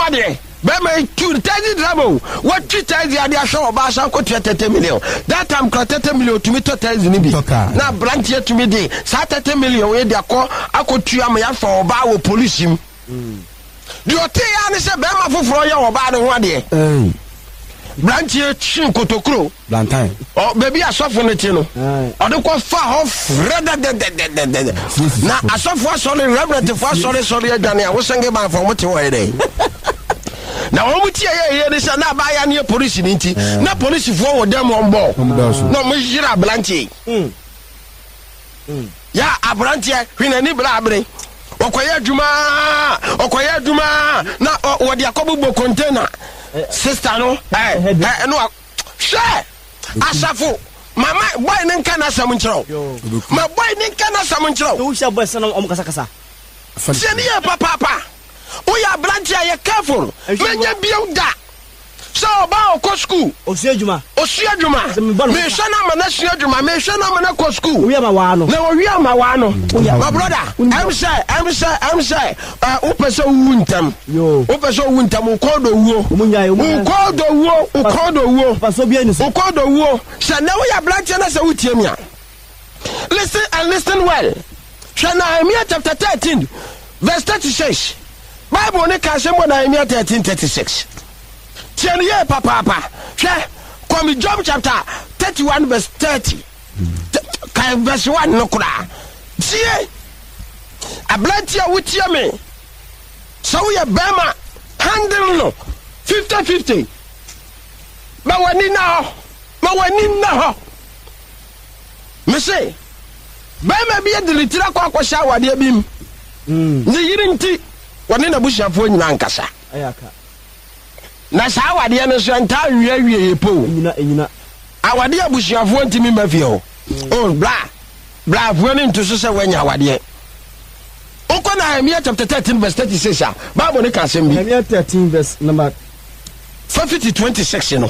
adeɛ. Bɛrima yi tu taxi driver o, watwi taxi ade ahwɛ ɔbaa san kɔtua 30 million. That time kora 30 million tumi tɔ taxi no bi. Na aberanteɛ tumi de saa 30 million yi de akɔ akɔtua ma yɛafa ɔbaa wɔ polisi mu. Deɛ ɔtee ara ne sɛ bɛrima foforɔ yɛ ɔbaa no ho adeɛ. Branteɛ twe kotokuro. Ɔ baabi asɔfo no te no, ɔde kɔ fa hɔ frɛ dɛdɛdɛdɛdɛ. Na asɔfo asɔre, reverendfo asɔre sɔre adwane a wosɛnge banfo wɔn te hɔ yɛ dɛ. Na wɔn ti ɛyɛ yɛ ne sɛ na abaayewa no yɛ polisi ne nti na polisifoɔ wɔ dɛm wɔn bɔ na wɔn yere aberanteɛ yi. Yɛ aberanteɛ hwɛ n'ani bere abere ɔkɔyɛ adwuma ɔkɔyɛ adwuma na wɔde akɔbobɔ container sista no ɛ ɛ no hwɛ asafo mama boy ne nka n'asɛm nkyerɛ wo ma boy ne nka n'asɛm nkyerɛ wo tie ne yɛ papaapa woyɛ aberanteɛ a yɛ careful mɛnyɛ bio da Sɛ ɔbaa ɔkɔ sukuu. Osua adwuma. Osua adwuma. Mehwɛ no ama no asua adwuma. Mehwɛ no ama no akɔ sukuu. Owie ama waa no. Na owie ama waa no. My brother, ɛm sɛ, ɛm sɛ, ɛm sɛ, ɛ wopɛ sɛ wowu ntɛm. Wopɛ sɛ owu ntɛm, wo kɔn dɔ wuo. Wo kɔn dɔ wuo, wo kɔn dɔ wuo. Wo kɔn dɔ wuo. Sɛ nɛ woyɛ aberanteɛ na sɛ wotie me a, listen and listen well. Hwɛ Nehemia chapter 13 verse 36. Bible no ka asɛm wɔ Nehemia 13 36. Tie no yie papaapa. Hwɛ, kɔmi Job chapter 31 verse 30. Kan verse 1 no koraa. Tie! Aberante a wotie me, sɛ woyɛ bɛrima, handle no 50-50. Ma w'ani nna hɔ. Ma w'ani nna hɔ. Mese, barima bi de ne tiri akɔ akɔhyɛ awadeɛ bi mu. Mm. Ne yere nti, wɔne n'abusuafoɔ nyinaa nkasa. Na saa awadeɛ no nso ɛntaa nwie awieeɛ po. Awadeɛ abusuafoɔ ntumi mma fie hɔ. Mm. Oh, bla, bla afoɔ no nto so sɛ woanya awadeɛ. Wokɔ Nehemia chapter 13 verse 36 a, Bible no ka asɛm bi. Nehemia 13 verse number 50 26 no.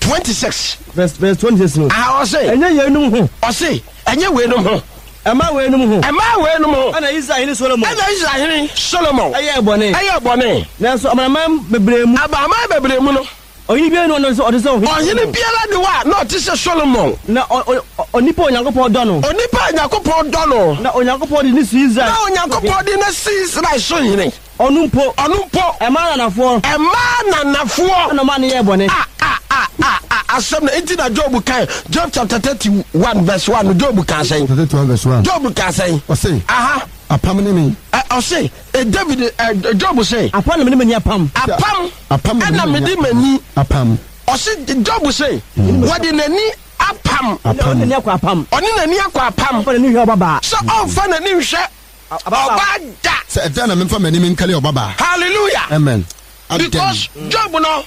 26. Verse verse 26 no. Aha ɔse. Ɛnyɛ yeinom ho. Ɔse ɛnyɛ weinom ho. Ɛma weinom ho. Ɛma weinom ho. Ɛna Israel hene Solomon. Ɛna Israel hene Solomon. Ɛyɛɛ bɔne. Ɛyɛɛ bɔne. Nanso amanaman bebree mu. Amanaman bebree mu no. Ɔhene biara ni hɔ a ɔte sɛ ɔhene. Ɔhene biara ni hɔ a na ɔte sɛ Solomon. Na onipa a Onyankopɔn dɔ no. Onipa a Onyankopɔn dɔ no. Na Onyankopɔn de no si Israel. Na Onyankopɔn de no si Israel so hene. Ɔno mpo. Ɔno mpo. Ɛmaa ananafoɔ. Ɛmaa ananafoɔ. Ɛna ɔmaa no yɛɛ bɔne. A a a a a asɛm no nti na Job kae Job chapter 31 verse 1 no Job kaa sɛn? 31 verse 1. Job kaa sɛn? Ɔse. Aha. Apam ne me. Ɛ ɔse ɛ David ɛ Job se. Apam na mede m'ani apam. Apam. Apam ɛna mede m'ani. Apam. Ɔse Job se wɔde n'ani apam. Apam. Ɔne n'ani akɔ apam. Ɔne n'ani akɔ apam. Ɔmfa n'ani nhwɛ ɔbabaa. Sɛ ɔmfa n'ani nhwɛ Ɔbaa da. Sɛ ɛdɛn na memfa m'anim nkari ɔbabaa. Hallelujah. Amen. Adɛn. Because Job no,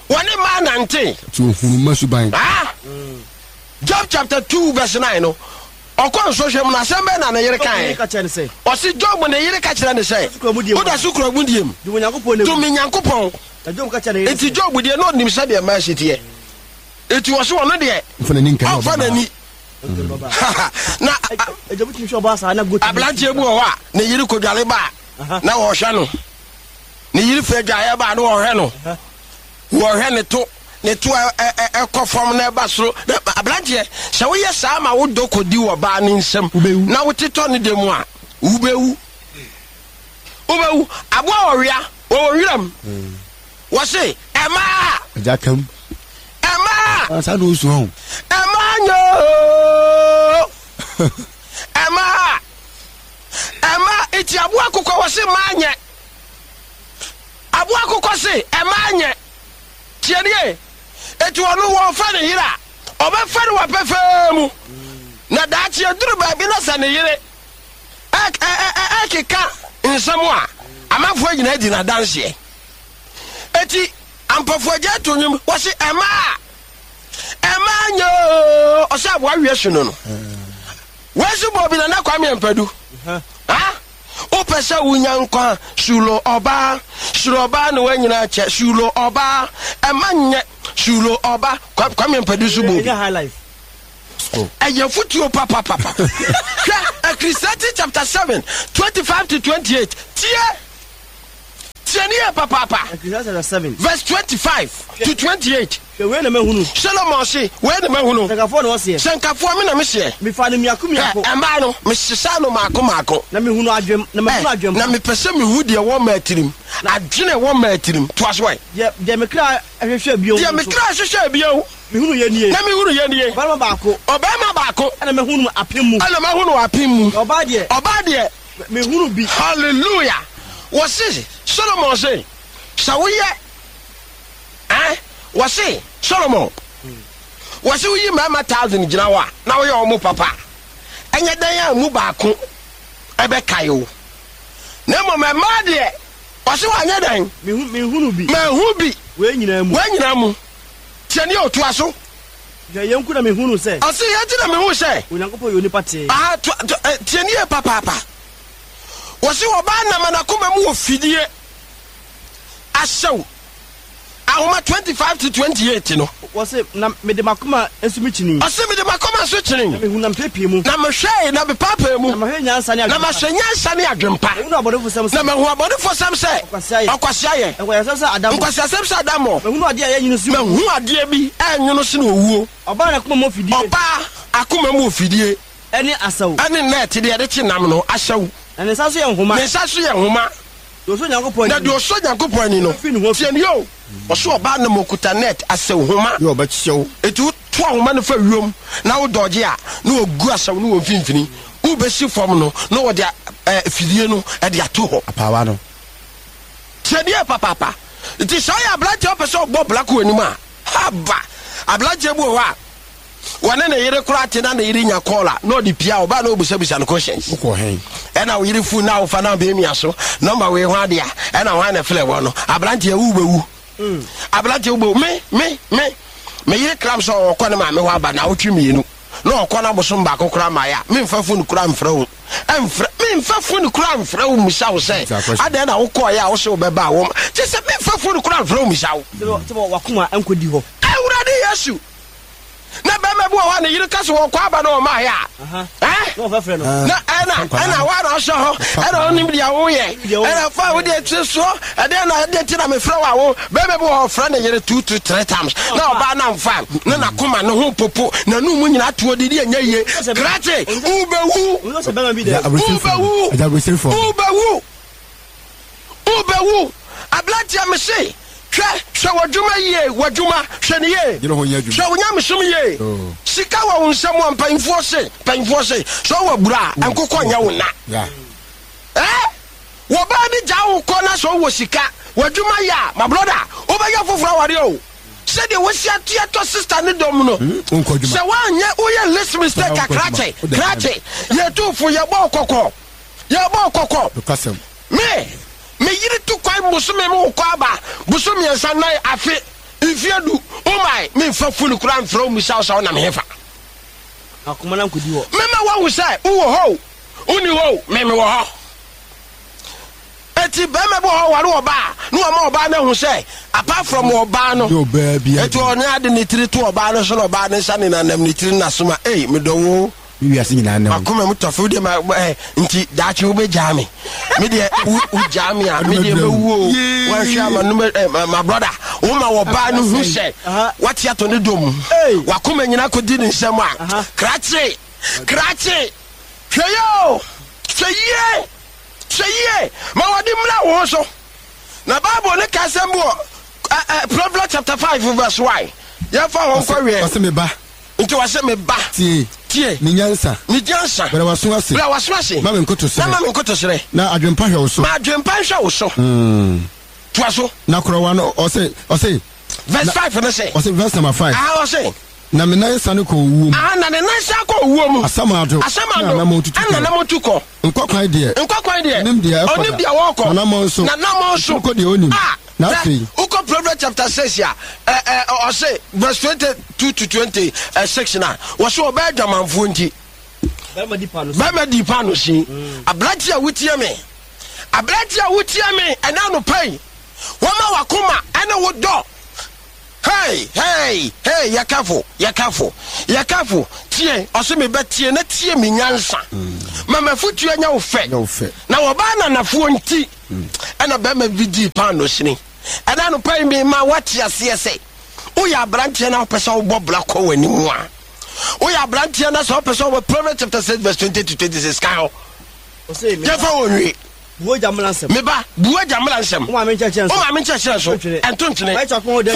wɔne mmaa nante. Ti ohunu mma suban. Ah. Job chapter 2 verse 9 no, ɔkɔ nsɔhwɛ mu no, asɛm bɛn na ne yere kae? Ɔse Job ne yere ka kyerɛ ne sɛ, woda so kura mudie mu. Dome Nyankopɔn. Enti Job deɛ na ɔnim sɛdeɛ mmaa si teɛ. Enti ɔse ɔno deɛ, ɔmfa n'ani. Na aberanteɛ bi wɔ hɔ a ne yere kɔdware ba a na wɔhwɛ no. Ne yere firi adwaeɛ ba a na wɔhwɛ no. Wɔhwɛ ne to ne to ɛkɔ fam na ɛba soro. Aberanteɛ, sɛ woyɛ saa ma wo dɔ kɔdi wɔ baa ne nsam na wotetɔ ne dɛ mu a, wobɛwu. Wobɛwu. Aboa ɔwea wɔwɔ wiram. Wɔse ɛmaa. Agya kam. Ɛmaa. Ansa na osu ho. Ɛmaa nyoo. Ɛmaa. Ɛmaa eti aboa akokɔ wɔse maa nyɛ. Aboa akokɔ se ɛmaa nyɛ. Tie nie. Eti ɔno wɔfa ne yere a ɔbɛfa no wɔ pɛfɛɛ mu. Na daakye aduru baabi na sɛ ne yere ɛkeka nsɛm a amanfoɔ nyinaa di n'adanseɛ. Eti ampɔfo agya to nnwom wɔsi ɛmaa ɛmaa nyoo ɔsɛ aboa wiɛ so no no. Wɔasi bɔ bi Nana Kwame Ampadu. Ha wopɛ sɛ wonya nkwa sulo ɔbaa suro ɔbaa ne woanyina kyɛ sulo ɔbaa ɛma nyɛ sulo ɔba Kwame Ampadu so bɔ bi. Ɛyɛ afotuo papapapa. Hwɛ Ecclesiastes chapter 7 25 to 28. Tie! Tie nie! yie papaapa. Ecclesiastes chapter 7. Verse 25 to 28. Hwɛ, wei na mahunu. Solomon se, Wei na mahunu. Sɛnkafoɔ na ɔseɛ. Sɛnkafoɔ, me na meseɛ. Mefaa no mmiako mmiako. Hwɛ, mmaa no, mesesaa no mmaako mmaako. Na mehunuu adwem, na mahunu adwempa. Na mepɛ sɛ mehu deɛ ɛwɔ mmaa tirim, adwene a ɛwɔ mmaa tirim. Toa so ɛ. Deɛ, deɛ me kra hwehwɛɛ bio Deɛ me nso. kra hwehwɛɛ bio. Mehunuiɛ nie. Na mehunuiɛ nie. Ɔbarima baako. Ɔbarima baako. Ɛna mahunu no apem mu. Ɛna mahunu no apem mu. Na ɔbaa deɛ. Ɔbaa deɛ. Menhunu bi. Hallelujah! Wɔse, Solomon se, sɛ woyɛ. Ɛn, wɔse, Solomon, wɔse woyi mmarima thousand gyina hɔ a, na woyɛ wɔn papa a, ɛnyɛ dɛn a mu baako ɛbɛkae wo. Na mmom mmaa deɛ, wɔse wɔanyɛ dɛn? Menhunu bi. Manhu bi. Wei nyinaa mu. Wei nyinaa mu. Tie nie o, toa so. Hwɛ, yei nko na mehunu sɛ. Ɔse, yei nti na mehu sɛ. Onyankopɔn yɛ onipa tee. Aha, toa, to, eh, tie nie papaapa. Wɔse ɔbaa nam anakoma mu wɔ fidie ahyɛw. Ahoma 25 to 28 no. Wɔse, na mede m'akoma nso mekyinii. Ɔse, mede m'akoma nso kyinii. Na mehunu na mepeepee mu. Na mehwɛe na mepaapaa mu. Na mahwɛ nyansa ne adwempa. Na mahwɛ nyansa ne adwempa. Mahunu abɔnefosɛm sɛ. Na mahu abɔnefosɛm sɛ. Ɔkwasea yɛ. Ɔkwasea yɛ. Nkwaseasɛm sɛ adammɔ. Nkwaseasɛm sɛ adammɔ. Mahunu adeɛ a ɛyɛ nwunu sene owuo. Mahu adeɛ bi a ɛyɛ nwono sene owuo. Ɔbaa n'akoma mu afidie. Ɔbaa akoma mu afidie. Ɛne asau. Ɛne nɛɛte deɛ yɛde kye nam no, asau. Na ne nsa so yɛ nhoma. Ne nsa so yɛ nhoma. Deɛ ɔsɔ Nyankopɔn ani Na deɛ ɔsɔ Nyankopɔn ani no, tie nie o, ɔsɔ ɔbaa nam ɔkuta net, asau homa. Deɛ ɔbɛkyɛ wo. Enti woto ahoma no fa wiem na wo dɔgye a, na wɔgu asau no wɔ mfimfini. Wobɛsi fam no, na wɔde fidie no de ato hɔ. Apaawa no. Tie nie papaapa. Nti sɛ ɔyɛ aberanteɛ a ɔpɛ sɛ ɔbɔ bra kɔ anim a, haba! Aberanteɛ bi wɔ hɔ a, Wɔne ne yere koraa te na ne yere nya call a na ɔde pia ɔbaa na ɔbisabisa no questions. Wokɔ hɛn? Ɛna wo yere phone na wofa na bɛmia so number wei ho adeɛ a ɛna hwan na ɛfrɛ wɔ no aberanteɛ wo bɛwu aberanteɛ wo bɛwu me me me me yere kram sɛ ɔkɔ ne maame hɔ aba na awotwe mmienu na ɔkɔ na bosom baako koraa ma yɛ a memfa phone koraa mfrɛ wo ɛmfrɛ memfa phone koraa mfrɛ wo mmisa wo sɛ adɛn na wokɔɔyɛ a wo sɛ wobɛba a wɔm kyɛ sɛ memfa phone koraa mfrɛ wo mmisa wo. Sɛ wakoma nkɔdi hɔ. Awurade Yesu Na bɛrima bi wɔ hɔ a ne yere ka sɛ wɔkɔ aba na ɔmaeɛ a, ɛ? Na ɛna ɛna hɔ a na ɔhyɛ hɔ ɛna ɔnim deɛ woyɛ ɛna fa wo deɛ tiri soɔ ɛdeɛ na ɛdeɛ nti na mefrɛ wo a wo bɛrima bi wɔ hɔ ɔfrɛ ne yere two to three times na ɔbaa na mfa na n'akoma ne ho popo na ne mu nyinaa toɔ didi ɛnyɛ yie krakye wobɛwu wobɛwu wobɛwu. Wobɛwu. Aberanteɛ mese hwɛ hwɛ w'adwuma yie w'adwuma hwɛ no yie hwɛ wo nyamesom yie sika wɔ wo nsam a mpanyinfoɔ se mpanyinfoɔ se sɛ ɔwɔ abura a nkokɔ nyɛ wo na eh wɔbaa bi gyaa wo kɔ na sɛ ɔwɔ sika w'adwuma yɛ a my brother wobɛyɛ foforɔ awareɛ o sɛdeɛ wosi atua tɔ sister ne dɔm no sɛ woanyɛ woyɛ list mistake kakrakye krakye yɛtu fo yɛbɔ kɔkɔ Yɛbɔɔ kɔkɔ. Nokwasɛm. Me, me yere tu kwan bosome mu kɔ aba, bosom mmiɛnsa, nan, afe, mfeɛ du, oh my, memfa foni koraa mfrɛ wo mmisa wo sɛ wonam hefa. Akoma no ankɔdi hɔ. Mɛma woahu sɛ wowɔ hɔ o, wonni hɔ o, me mewɔ hɔ. Eti bɛrima bi wɔ hɔ ɔware ɔbaa na wama ɔbaa no ahu sɛ apart from ɔbaa no, Nyɛ ɔbaa biara eti bi. ɔne ade ne tiri to ɔbaa no so na ɔbaa no nsa nenanam ne tiri no n'asom a, ei medɔ wo o. Me wiase nyinaa ne wo. Makoma mu tɔfe wo deɛ ma ɛ nti daakye wobɛgyaa me me deɛ wo wogyaa me a me deɛ mɛwu o wanhwɛ ama no ɛ ma ma brother woma wɔbaa no hu sɛ wate atɔ ne dɔ mu wakoma nyinaa kɔdi ne nsam a krakye krakye hwɛ yie o hwɛ yie hwɛ yie ma wɔde mmra wo ho so na bible ne ka asɛm bi wɔ ɛ ɛ Proverbs chapter 5 verse 1 yɛmfa hɔ nkɔweɛ Ɔse me ba. Nti ɔse, Me ba, Tie. tie. Me nyansa. Me nyansa. Brɛ w'aso ase. Brɛ w'aso ase. Ma me nkotosrɛ. Na ma me nkotosrɛ. Na adwempa hwɛ wo so. Ma adwempa nhwɛ wo so. Toa so. Na korɔ w'ano, ɔse, ɔse. Verse 5 no se. Ɔse, verse number 5. Aha, ɔse. Na me nan sane kɔ owuo mu. Aha, na ne nan san kɔ owuo mu. Asamando. Asamando. Na anammɔn tutu kɔ. Ɛna anammɔn tu kɔ. Nkwa kwan deɛ. Nkwa kwan deɛ. Ɔnim deɛ ɛkɔ da. Ɔnim deɛ wɔkɔ. N'anammɔn so. N'anammɔn so. Ɛtumi kɔ deɛ ɔnim. Ah! Na Hwɛ, afei. wokɔ Proverbs chapter 6 a, ɛ, ɛ, ɔse, verse 22 to 26 na, wɔse ɔbaa adwamanfoɔ nti. Bɛrima di paano sin. Bɛrima di paano sin. Aberante a wotie me, aberante a wotie me ɛna anɔpa yi, wɔma wakoma ɛne wo dɔ. Hey, hey, hey, yɛ careful, yɛ careful, yɛ careful. Tie, ɔse me bɛ tie na tie me nyansa. Ma m'afotuo nyɛ wo fɛ. Na wɔbaa nanafoɔ nti ɛna bɛrima bi dii paano sini. Ɛna anɔpa yi mema woate aseɛ sɛ woyɛ aberanteɛ na wopɛ sɛ wobɔ bra kɔ w'anim a, woyɛ aberanteɛ na sɛ wopɛ sɛ wobɔ Proverbs chapter 6 verse 20 to 26 kan hɔ. Yɛmfa wɔ nwie. Bu w'agya mmara nsɛm. Me ba, bu w'agya mmara nsɛm. Wo maame nkyerɛkyerɛ nso. Wo maame nkyerɛkyerɛ nso. Ɛnto ntwene. Fa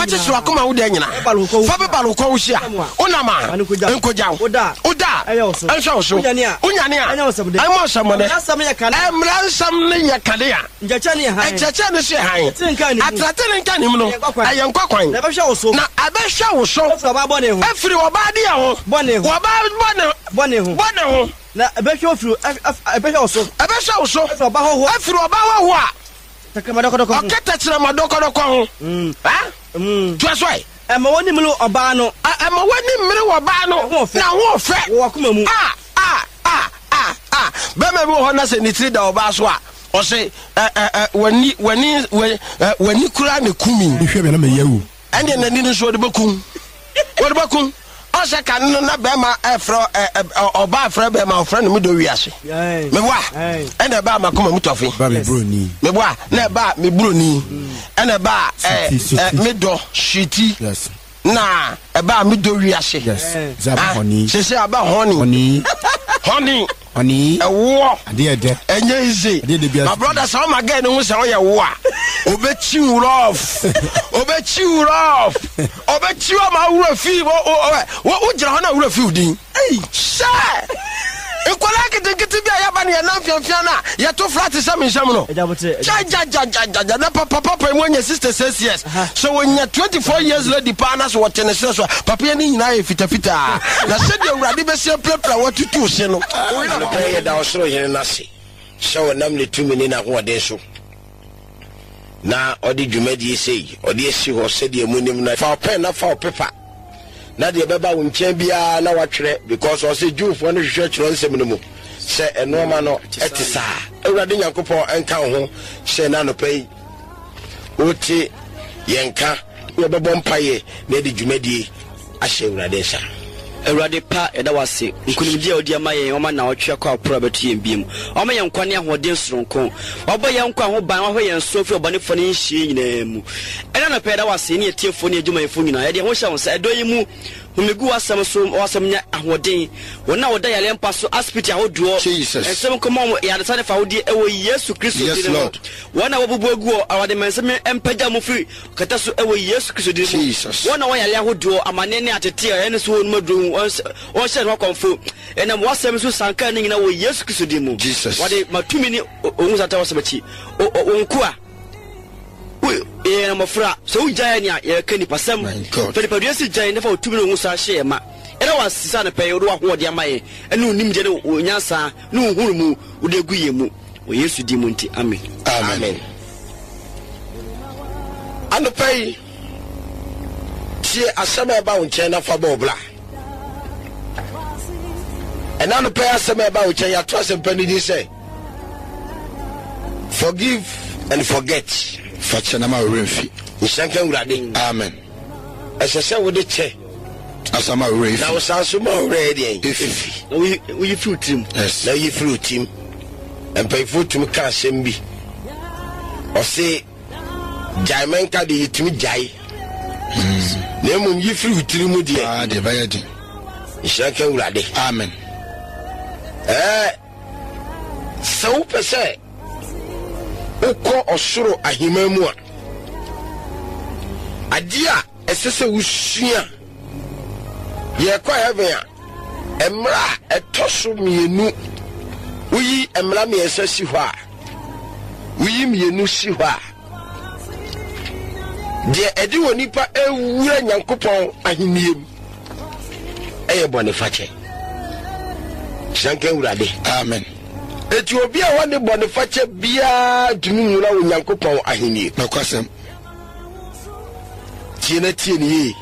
kyekyere w'akoma ho daa nyinaa. Fa bebare wo kɔn ho hyia. Wonam a, nkogya wo. Woda a, a, ɛnhwɛ wo so. Wonyane a, ɛnyɛ wo nsɛmde. Ɛmmɔ nsɛmmɔne. Mmara nsɛm no yɛ kanea. Nkyerɛkyerɛ no yɛ hann. Nkyerɛkyerɛ no nso yɛ hann. Atenetene nkanim no, ɛyɛ nkwa kwan. Na ɛbɛhwɛ wo so. Na ɛbɛhwɛ wo so. Afiri ɔbaa bɔne ho. Afiri ɔbaa deɛ ho. Bɔne ho. Ɔbaa bɔne ho. Bɔne ho. Na ɛbɛhwɛ wo firi ɛbɛhwɛ wo so. Ɛbɛhwɛ wo so. Afiri ɔba hɔhoɔ. Afiri ɔba hɔhoɔ a. Tɛkrɛma dɔkɔdɔkɔ ho. Ɔka tɛkyerɛma dɔkɔdɔkɔ ho. Ha? Toa so ɛ. Ɛma w'ani mmere ɔbaa no. Ɛma w'ani mmere ɔbaa no. Na ho ɔfɛ. Wɔ w'akoma mu. A a a a a. Bɛrima bi wɔ hɔ na sɛ ne tiri da ɔbaa so a, ɔse ɛ ɛ ɛ w'ani w'ani w'ani koraa na eku mi. Mehwɛ bɛ na meyɛ awu. Ɛnneɛ n'ani no nso wɔde bɛkum. Wɔde bɛkum. Ɔsɛ kane no na bɛrima ɛfrɛ ɔbaa frɛ bɛrima ɔfrɛ no medɔ wiase. Meboa ɛna ɛbaa makoma mu tɔfe. Meboa na ɛbaa me buroni. Ɛna ɛbaa ɛ medɔ suiti. Na ɛbaa medɔ wiase. Sese aba hɔni. Hɔni. Ɛwoɔ. Ɛnyɛ easy. My brother sɛ ɔma girl no hu sɛ ɔyɛ wo a, ɔbɛkyi wo rough. Ɔbɛkyi wo rough. Ɔbɛkyi wo ama awura fi wogyina hɔ na awura fi wo din. Hyɛ! Nkwadaa nketenkete bi a yɛaba no yɛnam mfiamfia no a yɛto flat sɛ me nsam no. Gyagyagyagyagya na papa papa mu anya 66 years. Sɛ wɔnya 24 years lady paa na sɛ wɔte ne serɛ so a, papa yi ani nyinaa yɛ fitafitaa. Na sɛdeɛ Awurade bɛsi apirapira watutu se no. Anɔpa yi yɛda Ɔsoro Hene no ase sɛ ɔnam ne tumi ne n'ahoɔden so na ɔde dwumadie sei ɔde asi hɔ sɛdeɛ monim no. Fa wo pɛn na fa wo pepa na deɛ ɛbɛba wo nkyɛn biara na watwerɛ because ɔse Jewfoɔ no hwehwɛ twerɛ nsɛm no mu sɛ nnoɔma no ɛte saa. Awurade Nyankopɔn nka wo ho hyɛ no anɔpa yi. Wote yɛn nka na yɛbɛbɔ mpaeɛ na yɛde dwumadie ahyɛ Awurade nsa. Awurade pa, yɛda wo ase, nkonimdie a wode ama yɛn, wama nnawɔtwe akɔ aporo abɛto yɛn biom. Wama yɛn nkwa ne ahoɔden soronko. Wabɔ yɛn nkwa ho ban, wahwɛ yɛn so afiri ɔbɔnefoɔ ne nhyeɛ nyinaa mu. Ɛnnɛ anɔpa yɛda wo ase, yɛne atiefoɔ ne adwumayɛfoɔ nyinaa. Yɛde yɛn ho hyɛ wo nsa, ɛdɔ yi mu, home gu w'asɛm so, ma w'asɛm nyɛ ahoɔden. Wɔn a wɔda yareɛ mpa so, asipiti ahodoɔ, Jesus. nsɛm nkɔma wɔn yaresa ne fawodeɛ ɛwɔ Yesu Kristo Yes, din mu. Lord. Wɔn a wɔabubu agu hɔ, Awurade, ma nsɛm yi mpagya mo firi kɛtɛ so wɔ Yesu Kristo din mu. Jesus. Wɔn a wɔwɔ yareɛ ahodoɔ, amaneɛ ne ateteɛ a ɛne so wɔ nom aduro ho, wɔnhyɛ ne ho akɔmfo. Ɛnam w'asɛm so sanka ne nyinaa wɔ Yesu Kristo din mu. Jesus. Wɔde ma tumi ne ohu sata w'asɛm akyi. O, o, wo nkoa, wo, yɛyɛ mmɔfra, sɛ wogyae yɛn a, yɛbɛka nipasɛm. My God. Fa nipadua si gyae na fa wo tumi ne wo ho sa hyɛ yɛn ma. Yɛda wo ase sɛ anɔpa yi wode w'ahoɔden ama yɛn, ɛne wo nimdeɛ ne wo nyansa ne wo nhunumu wode agu yɛn mu. Wɔ Yesu din mu nti, amen. Amen. Anɔpa yi, tie asɛm a ɛba wo nkyɛn na fa bɔ wo bra. Ɛna anɔpa yi asɛm a ɛba wo nkyɛn yɛato asɛmpa no din sɛ forgive and forget. Fa kyɛ na ma wo werɛ mfi. Nhyira nka Awurade. Amen. Ɛsɛ sɛ wode kyɛ. Asa ma wo werɛ efi. Na wosan so ma wo werɛ deɛn? Efi. Na woyi firi wo tirim. Yes. Na woyi firi wo tirim. Mpanyinfoɔ tumi ka asɛm bi. Ɔse gyae mɛnka deɛ yɛtumi gyae. Na mmom yi firi wo tiri mu deɛ. Paa deɛ ɛbɛyɛ den. Nhyira nka Awurade. Amen. Ɛɛ sɛ wopɛ sɛ wokɔ ɔsoro ahemman mu a, adeɛ a ɛsɛ sɛ wosua yɛkɔ heaven a, mmara a ɛtɔ so mmienu, woyi mmara mmiɛnsa si hɔ a, woyi mmienu si hɔ a, deɛ ɛde wɔ nipa ewura Nyankopɔn ahennie mu ɛyɛ bɔnefakyɛ. Hyira nka Awurade. Amen. Eti obi a wɔne bɔnefakyɛ biara ntumi nwura wɔ Nyankopɔn ahennie. Nokwasɛm. Tie na tie no yie.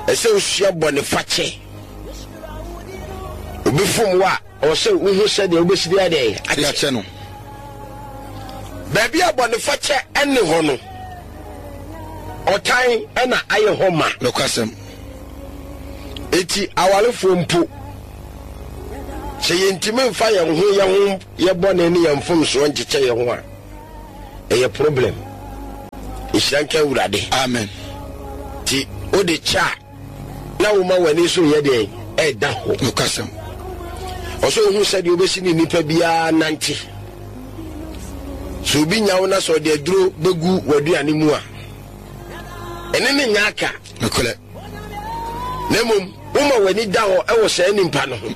Ɛsɛ osua bɔnefakyɛ. Obi fom wo a, ɔwɔ sɛ wohu sɛdeɛ wobɛsi de adɛn akyɛ no. Baabi a bɔnefakyɛ ɛne hɔ no, ɔtan ɛna ayɛ hɔ ma. Nokwasɛm. Eti awarefoɔ mpo, Sɛ yɛntumi mfa yɛn ho yɛn ho yɛ bɔne ne yɛn mfomsoɔ nkyekyɛ yɛn ho a, ɛyɛ problem. Nhyira nka Awurade. Amen. Nti wode kyɛ a, na woma w'ani so yɛ deɛn? Ɛda hɔ. Nokwasɛm. Ɔsɛ ohu sɛdeɛ wobɛsi ne nipa biara nante. Sɛ obi nya wo na sɛ ɔde aduro bɛgu w'aduane mu a, ɛne ne nyɛ aka. Nokorɛ. Na mmom woma w'ani da hɔ wɔ saa nipa no ho.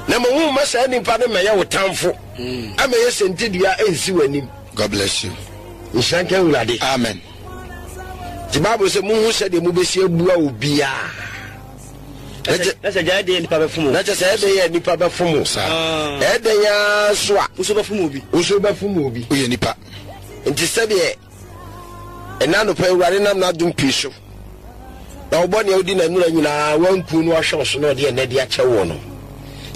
Na mmom womma saa nipa no mmɛyɛ wo tamfo, ɛmɛyɛ sɛntidua ɛnsi w'anim. God bless you. Nhyira nka Awurade. Amen. Nti Bible sɛ monhu sɛdeɛ mobɛsi abua obiara. Na sɛ gya ɛdɛn nipa bɛfom o. Na kyɛ sɛ ɛdɛn yɛ nipa bɛfom o. Saa. Ɛdɛn ara so a. Nso bɛfom obi. Nso bɛfom obi. Woyɛ nipa. Nti sɛdeɛ ɛna anɔpa Awurade nam n'adom pii so na ɔbɔ nea odi n'anura nyinaa wanku no ahwɛ wo so na ɔde ɛnɛ de akyɛ woɔ no,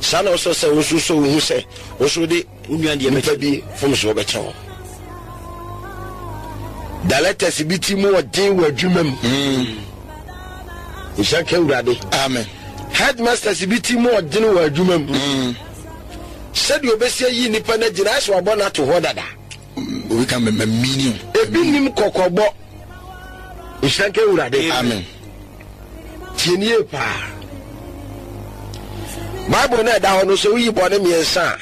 saa na ɔsɛ sɛ wo nso sɛ wohu sɛ wo nso wode Wo nua deɛ nipa bɛkyɛ. bi mfomsoɔ bɛkyɛ wo. Directors bi ti mu ɔden wɔ adwuma mu. Nhyira nka Awurade. Amen. Headmasters bi ti mu ɔden wɔ adwuma mu. Sɛdeɛ ɔbɛsi ayi nipa no agyina ayɛ sɛ wabɔ no ato hɔ dada. Obi ka mɛ mini o. Ebi nim kɔkɔbɔ. Nhyira nka Awurade. Amen. Tie nie paa. Bible no a ɛda hɔ no sɛ woyi bɔne mmiɛnsa a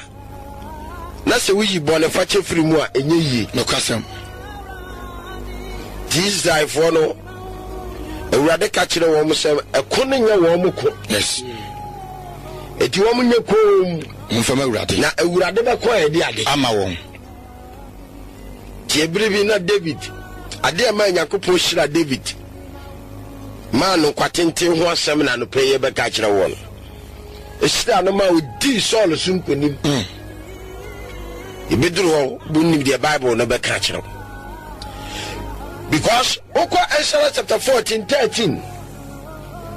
na sɛ woyi bɔne fakyɛ firi mu a ɛnyɛ yie. Nokwasɛm. Nti Israelfoɔ no Awurade ka kyerɛ wɔn sɛ ɛko no nyɛ wɔn ko. Yes. Eti wɔn nyɛ koom. Momfa ma Awurade. Na Awurade bɛkɔ a ɛde ade. Ama wɔn. Tie bere bi na David, ade a ɛmaa Nyankopɔn hyira David maa no nkwa tenten ho asɛm na anɔpa yi yɛbɛka akyerɛ woɔ no. Ɛhyira no ma ɔdii Saul so nkonim. Mm. Yɛbɛduru hɔ, wonim deɛ Bible no bɛka akyerɛ wo. Because wokɔ Exodus chapter 14, 13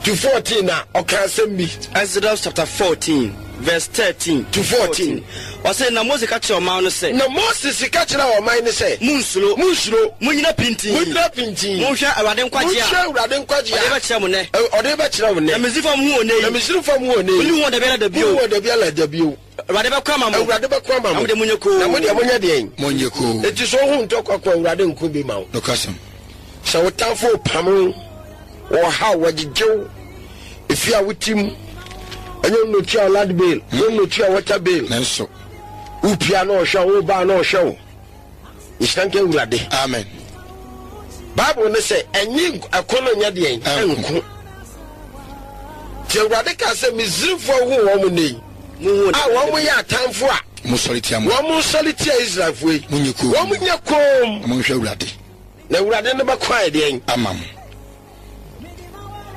to 14 na ɔka asɛm bi. Exodus chapter 14 verse 13 to 14. Ɔse, na Mose ka kyerɛɛ ɔman no sɛ. Na Moses ka kyerɛɛ ɔman no sɛ. Monnsuro. Monnsuro. Monnyina pintinn. Monnyina pintinn. Monhwɛ Awurade nkwagyeɛ a. Monhwɛ Awurade nkwagyeɛ a. Ɔde rebɛkyerɛ mo nnɛ. Ɔde rebɛkyerɛ wo nnɛ. Na Misraimfoɔ a mohu wɔn nnɛ yi. Na Misraimfoɔ a mohu wɔn nnɛ yi. Monni wɔn da biara da bio. Monni wɔn da biara da bio. Awurade bɛko ama mo. Awurade bɛko ama mo. Na mo deɛ monyɛ komm. Na mo deɛ monyɛ deɛn? Monyɛ komm. Enti sɛ wohu ntɔkwa ko a, Awurade nko bi ma wo. Nokwasɛm. Sɛ wo tamfo repam wo. Wɔhaw, wɔgyegye wo, efie a wote mu, ɛnyɛ wo na otua land bill, ɛnyɛ wo na otua water bill. Nanso. Wopia na ɔhwɛ wo, wobaa na ɔhwɛ wo. Nhyira nka Awurade. Amen. Bible ne sɛ ɛnye ɛko no nyɛ deɛn ɛnko. Nti Awurade kaa sɛ Misrimfoɔ hu wɔn nnɛ yi a wɔn yɛ atamfo a wɔn sɔre tia Israelfoɔ yi, wɔn nyɛ koom. Monhwɛ Awurade. Na Awurade no bɛko ayɛ deɛn? Ama mo.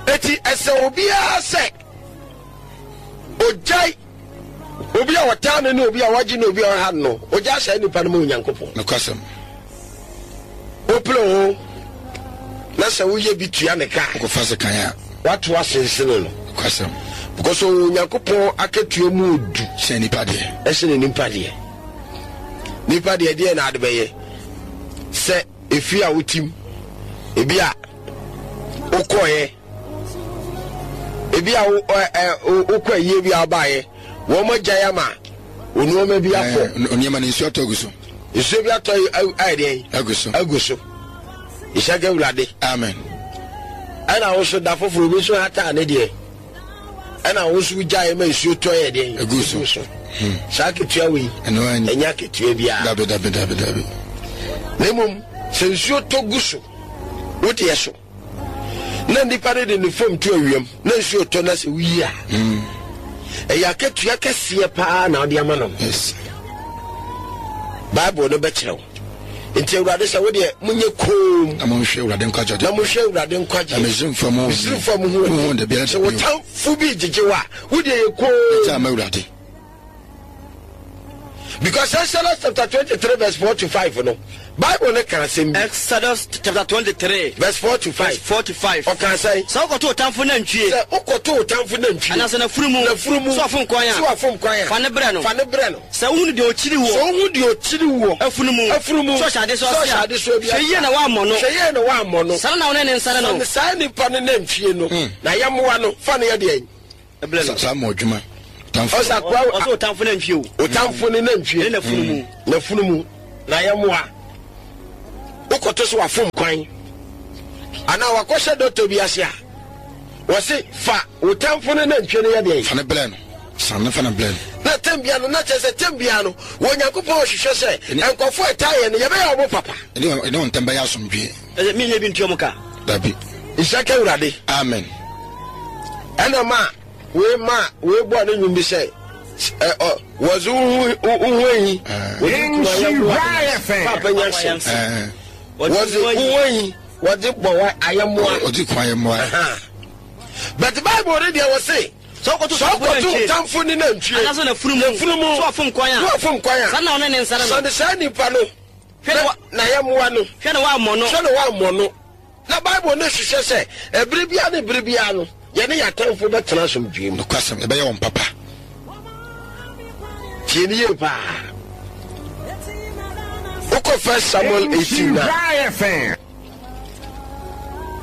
Eti ɛsɛ obiara sɛ ogyae obi a ɔtaa no ne obi a wagye ne obi a ɔha no no, ogyae saa nipa no ma Onyankopɔn. Nokwasɛm. Wopere ho na sɛ woyɛ bi tua ne ka. Wokɔfa sekan a. Wato asensene no. Nokwasɛm. Because Onyankopɔn akatua mu odu. Sɛn nipa deɛ. Ɛsene nipa deɛ. Nipa deɛ deɛ na ade bɛyɛ. Sɛ efie a wotim, ebi a wokɔɛ, ebi a wokɔ ayie bi a wobaeɛ, wɔn agyae ama nneɛma bi afɔ. Nneɛma no nsuo atɔ agu so. Nsuo bi atɔ ayɛ deɛn? Agu so. Agu so. Nhyira nka Awurade. Amen. Ɛna wo so da foforɔ obi nso hataa ne deɛ. Ɛna wo nso wogyaeɛ ma nsuo tɔ yɛ deɛn? Agu so. so. Hmm. Saa akatua wei ɛnyɛ akatua biara. Dabi dabi dabi dabi. Na mmom sɛ nsuo tɔ gu so wodeɛ so na nipa no de ne fam to awiam na nsuo tɔ na sɛ woyi a hmm. ɛyɛ akatua kɛseɛ paa na wode ama no. Yes. Bible no bɛkyerɛ wo. Nti Awurade sɛ wo deɛ monyɛ koom. Na monhwɛ Awurade nkwagye. Na monhwɛ Awurade nkwagye. Na Misraimfoɔ mo. Misraimfoɔ mo ho wɔn da biara. Sɛ wo tamfo bi gyegye wo a, wo deɛ yɛ koom. Ɛgya ama Awurade. Because Exodus chapter 23 verse 4 to 5 no, Bible no ka asɛm bi. Exodus chapter 23 verse 4 to 5. Verse 4 to 5. Ɔka sɛn? Sɛ wokɔto wo tamfo nantwie. Sɛ wokɔto wo tamfo nantwie. Anaasɛ n'afunumu. N'afunumu. Sɛ wafom kwan a. Sɛ wafom kwan a. Fa ne brɛ no. Fa ne brɛ no. Sɛ wohunu deɛ ɔkyiri woɔ. Sɛ wohu deɛ ɔkyiri woɔ. Afunumu. Afunumu. Sɛ ɔhyɛ adesoa Sɛ ɔhyɛ adesoa bi ase a. Hwɛ yie na woammɔ no. Hwɛ yie na woammɔ no. Saa na wo ne ne nsane no. Sane saa nipa no nantwie no. Na yɛmmoa no. Fa no yɛ deɛn? Brɛ no. Saa mmoadwuma. Ɔtamfo. Ɔsɛ akoa. Ɔsɛ ɔtamfo nantwie o. Ɔtamfo ne nantwie. Ɛne n'afunu mu. N'afunu mu. Na yɛmmoa. Wokɔto so wafom kwan. Anaa wakɔhyɛ dɔtɔ bi ase a, wɔse fa wo tamfo no nantwie no yɛ deɛn? Fa no brɛ no. San no fa no brɛ no. Na tɛm biara no, na kyerɛ sɛ tɛm biara no, wɔ Onyankopɔn ɔhwehwɛ sɛ nkurɔfoɔ a ɛtaa yɛn no, yɛbɛyɛ wɔn papa. Ɛne wɔn ntam bɛyɛ asomdwoeɛ. Ɛsɛ menyɛ bi ntua mo ka. Dabi. Nhyira ka Awurade. Amen. Ɛna ma wei ma wei bɔɔ ne nnwom bi sɛ ɛ ɔ wɔdze wo ho wo ho ahi wɔdze kuma ayɛmmoa papa nya hyɛ wɔdze wo ho ahi wɔdze bɔ wa ayɛmmoa wɔdze kuma ayɛmmoa. But Bible ne deɛ wɔse Sɛ wokɔto sɛ wokɔto tamfo ne nantwie anaasɛ n'afunu mu n'afunu mu sɛ wafom kwan a sɛ wafom kwan a saa na ɔne ne nsa no sane saa nipa no Hwɛ na wa- na ayɛmmoa no hwɛ na woammɔ no. Hwɛ na woammɔ no. Na Bible no hwehwɛ sɛ ɛbere biara ne bere biara no, yɛne yɛn atamfo bɛtena asomdwoe mu. Nokwasɛm, yɛbɛyɛ wɔn papa. Tie no yie paa. Wokɔ First Samuel 18 na.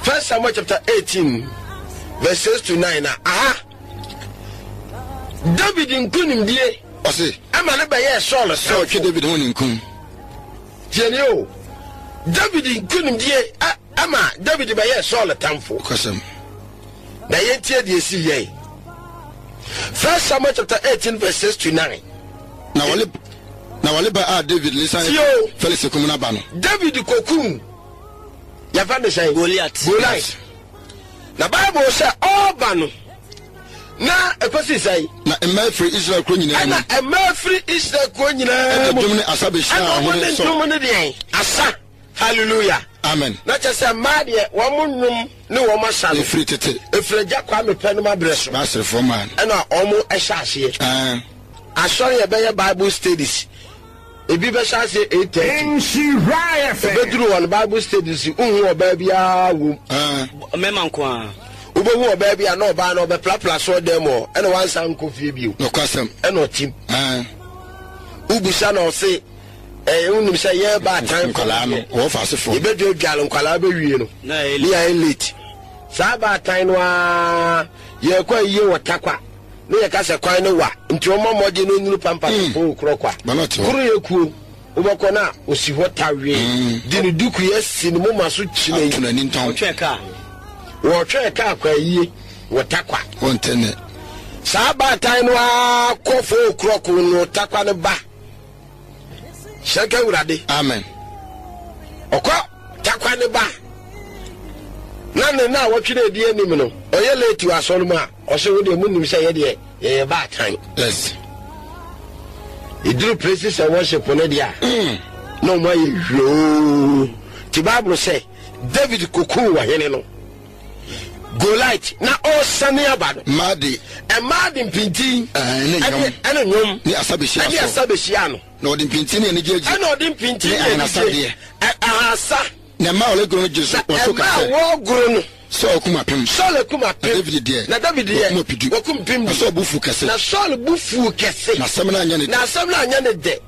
First Samuel chapter 18 verse 6 to 9 na aha. David nkonimdie. Ɔse. Ɛma no bɛyɛɛ Saul sɛ ɔtwe David ho ninkum. Tie nie o, David nkonimdie ma David bɛyɛɛ Saul tamfo. Nokwasɛm. Na yɛntie deɛ ɛsii yɛe. First Samuel chapter 18 verse 6 to 9. Na wɔle na wɔle ba a David ne san Tie o. Felix kum no aba no. David kɔkum yɛfɛ ne sɛn? Goliath. Goliath. Na Bible sɛ ɔreba no na ɛkɔsi sɛn? Na mmaa firi Israel kuro nyinaa mu. Ɛna mmaa firi Israel kuro nyinaa mu. Ɛde dwom ne asa bɛhyia ɔhene Saul. Ɛna wɔn ne dwom ne deɛn? Asa. Hallelujah. Amen. Na kyɛ sɛ mmaa deɛ wɔn nnwom ne wɔn asa no. Efiri tete. Efiri agya Kwame pɛ no ma brɛ so. N'aserefoɔ mmaa no. Ɛna wɔn ɛhyɛ aseɛ. Asɔre yɛ bɛyɛ Bible studies. Ebi bɛhyɛ aseɛ 8:30. Nhyira FM. Ebeduru hɔ no Bible studies nhu ɔbaa biara wom. Mmarima nko ara. Wobɛhu ɔbaa bi a na ɔbaa no ɔbɛprapra asɔre dan mu hɔ ɛna wansan nkɔ fie bio. Nokwasɛm. Ɛna ɔtim. Wobisa na ɔse ɛɛ wonim sɛ yɛn baatan nkwadaa no wɔfa asefoɔ. Yɛbɛdwadwale nkwadaa bɛwie no Na ɛyɛ ne yɛayɛ late. Saa baatan no ara yɛkɔ ayie wɔ Tarkwa. Ne yɛ ka sɛ kwan no wa nti ɔmmɔ mmɔden na ɔnnuru pampa no foo korɔ kwa. Koro yɛ kuo wobɛkɔ no a ɔsi hɔ tawee de ne duku yɛ si ne moma so kyinei. Wɔtwɛn kaa. Wɔtwɛn kaa kɔ ayie wɔ Tarkwa. Wɔnte nne. Saa baatan no ara kɔ foo korɔ ko no Tarkwa no ba. Hyɛ nka Awurade. Amen. Ɔkɔ Tarkwa ne ba na ne na awɔtwe na ɛdi anim no ɔyɛ late wɔ asɔre mu a ɔsɛ wo deɛ monim sɛ yɛdeɛ yɛyɛ baatan. Yes. Ɛduru places and worship no deɛ a na ɔmo ayɛ hwioo. Ti Bible sɛ David kokuu ɔhene no Goliath na ɔresane aba no. Mmaa de. Mmaa de mpintin. Ɛne nnwom. Ɛne nnwom. Ne asa bɛhyia Ɛne asa bɛhyia no. Na ɔde mpintin ne anigye agye. Ɛna ɔde mpintin ne anigye. Deɛ. Ahasa. Na mmaa a wɔregoro no gye so wɔn so ka sɛ. Na mmaa a wɔregoro no. Saul kum apem. Saul akum apem. Na David deɛ. Na David deɛ. Wakum ɔpedu. Wakum mpem du. Na Saul bo fuu kɛse. Na Saul bo fuu kɛse. Na asɛm no anyɛ ne dɛ. Na asɛm no anyɛ ne dɛ.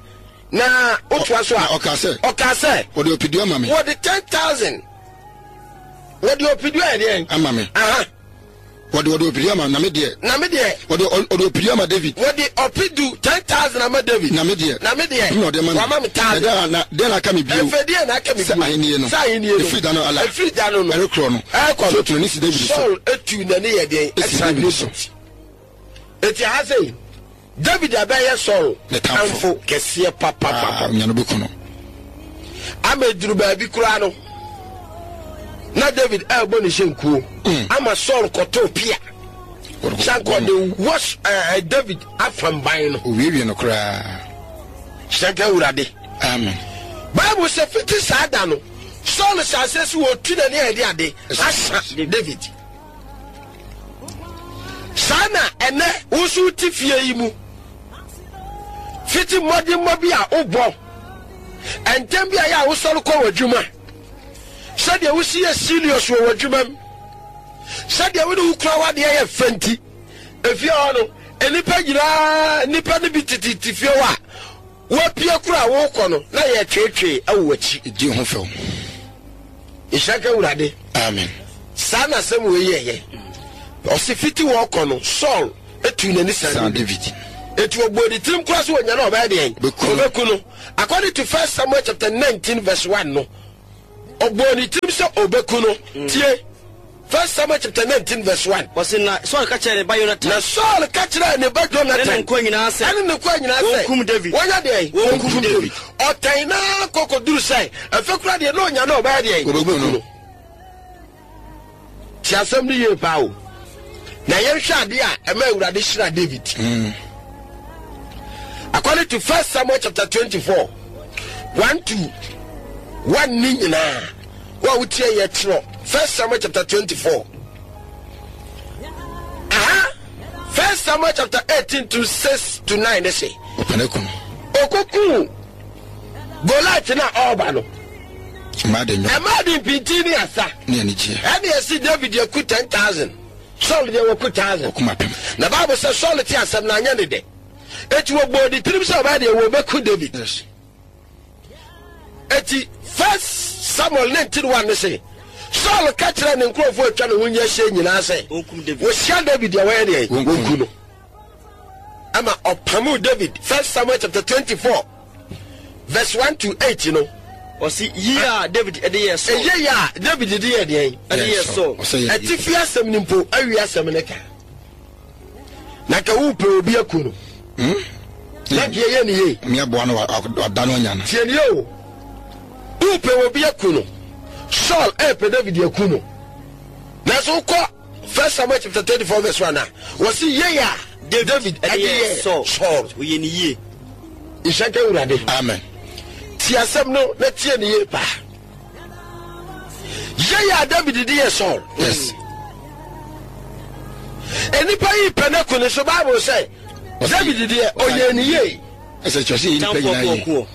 Na wotoa so a. Na ɔkaa sɛ. Ɔkaa sɛ. Wɔde ɔpedu ama me. Wɔde 10,000. Wɔde ɔpedu ayɛ deɛn? Ama me. Aha. Wɔde wɔde ɔpedu ama na me deɛ. Na me deɛ. Wɔde ɔde ɔpedu ama David. Wɔde ɔpedu 10,000 ama David. Na me deɛ. Na me deɛ. Na ɔde ama me. Wama me thousand. Na na deɛ na aka me bio. Ɛfɛ deɛ na aka me bio. Sɛ ahennie no. Sɛ ahennie no. Efiri da no ala. Efiri da no no. Ɛrekorɔ no. Ɛrekɔ no. Saul tu n'ani si David so. Saul etu n'ani yɛ deɛn? Esi David so. Eti ha sɛ David abɛyɛ Saul Ne tamfo. kɛseɛ papapapa. Aa, onya no bɛku no. Ama eduru baabi koraa no, na David ɛrebɔ ne hyɛnkuo ama Saul kɔtoo pia. Sɛ nka ɔde wɔ David afam ban no. Owiewie no koraa. Hyɛ nka Awurade. Amen. Bible sɛ fiti saa da no, Saul hyɛ aseɛ sɛ wɔtu n'ani a ɛde ade asa David. Saa na ɛnɛ wo nso wote fie yi mu. Fiti mmɔdemmɔ bi a wobɔ, ntɛm bi a yɛ a wosɔre kɔ w'adwuma, sɛdeɛ wosi yɛ serious wɔ w'adwuma mu, sɛdeɛ wo ne wo kura w'adeɛ yɛ fɛ nti, efie hɔ no, nnipa nyinaa, nnipa no bi tete fie hɔ a, Woapue koro a worekɔ no na yɛretweetwee wɔ w'akyi. Di ho fɛw. Nhyira nka Awurade. Amen. Saa na asɛm wei yɛeɛ. Ɔse fiti hɔ kɔ no, Saul tuu n'ani saa David. Eti ɔbɔɔ ne tirim koraa sɛ ɔnya no ɔbɛyɛ deɛn? Ɔbɛku no. According to First Samuel chapter 19 verse 1 no, ɔbɔɔ ne tirim sɛ ɔbɛku no. Mm. Tie. First Samuel chapter 19 verse 1. Wɔsi na Saul ka kyerɛ ne ba Jonathan. Na Saul ka kyerɛ ne ba Jonathan. Ɛne ne nkoa nyinaa sɛ. Ɛne ne nkoa nyinaa sɛ. Wɔnkum David. Wɔnyɛ deɛn? Wɔnkum David. Ɔtɛn na kɔkɔduru sɛ ɛfɛ kura deɛ na ɔnya no ɔbɛyɛ deɛn? Ɔbɛku no. Tie asɛm no yie paa o. Na yɛnhwɛ adeɛ a ɛma Awurade hyira David. Mm. According to First Samuel chapter 24, 1 to 1 ne nyinaa, wo a wotie yɛ twerɛ First Samuel chapter 24. Aha, First Samuel chapter 18 to 6 to 9 ne se. Ɔkɔkuu Goliath no a ɔreba no. Ɛmaa de mpintin ne asa. Ne anigyeɛ. Ɛne ɛsi David aku 10,000. Saul deɛ wɔku 1,000. Ɔkum apem. Na Bible sɛ Saul te asɛm no anyɛ ne dɛ. Eti wɔbɔɔ ne tirim sɛ ɔbɛyɛ deɛ wɔbɛku David. Yes. Eti First Samuel 19:1 ne se Saul ka kyerɛ ne nkurɔfoɔ atwa ne ho nyɛ hyɛ nyinaa sɛ wɔhyia David deɛ wɔyɛ deɛ wɔnku no. Ɛma ɔpamoo David. First Samuel chapter 24 verse 1 to 8 no. Ɔsi yie a David de yɛɛ Saul. Ɛyɛ yie a David de yɛɛ deɛn? Ɛde yɛɛ Saul. Atifi asɛm no mpo awi asɛm no ka. Na ka wopɛ obi aku no. Hmm? Na deɛ yɛ ne yie. Mmeaboa no wada no anya no. Tie ne o. Wopɛ obi aku no. Saul ɛpɛ David aku no. Nanso wokɔ First Samuel chapter 34 verse 1 a, wɔsi yei a David ɛde yɛɛ Saul. Saul. Ɔyɛ ne yie. Nhyira nka Awurade. Amen. Tie asɛm no na tie ne yie paa. Yei a David de yɛ Saul. Yes. Nnipa yi pɛ no aku ne so Bible sɛ David deɛ ɔyɛ ne yie. Ɛsɛ kyerɛ sɛ yɛ nipa nyinaa yie.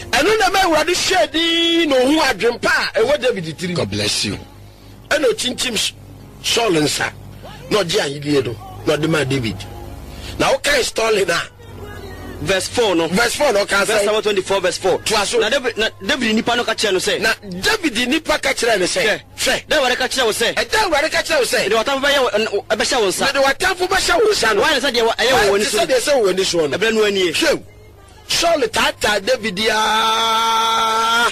Ɛno na ma Awurade hyɛɛ din na ohun adwempa a ɛwɔ David tirim. God bless you. Ɛnna okyinkyim Saul nsa, na ɔgye ahenni no, na ɔde maa David. Na wokae Sterling a. Verse 4 no. Verse 4 no ɔka sɛ. First Samuel 24 verse 4. Toa so. Na David na David nipa no ka kyerɛ no sɛ. Na David nipa ka kyerɛ no sɛ. Hwɛ. Hwɛ. Da Awurade ka kyerɛ wo sɛ. Ɛda Awurade ka kyerɛ wo sɛ. Mede w'atamfo bɛyɛ wo ɛbɛhyɛ wo nsa. Mede w'atamfo bɛhyɛ wo nsa no. Woayɛ no sɛdeɛ ɛyɛ wɔ w'ani so. Woayɛ te sɛdeɛ ɛsɛ wɔ w'ani soɔ no. Ɛberɛ no nie. Hwɛ, Saul taataa David aa.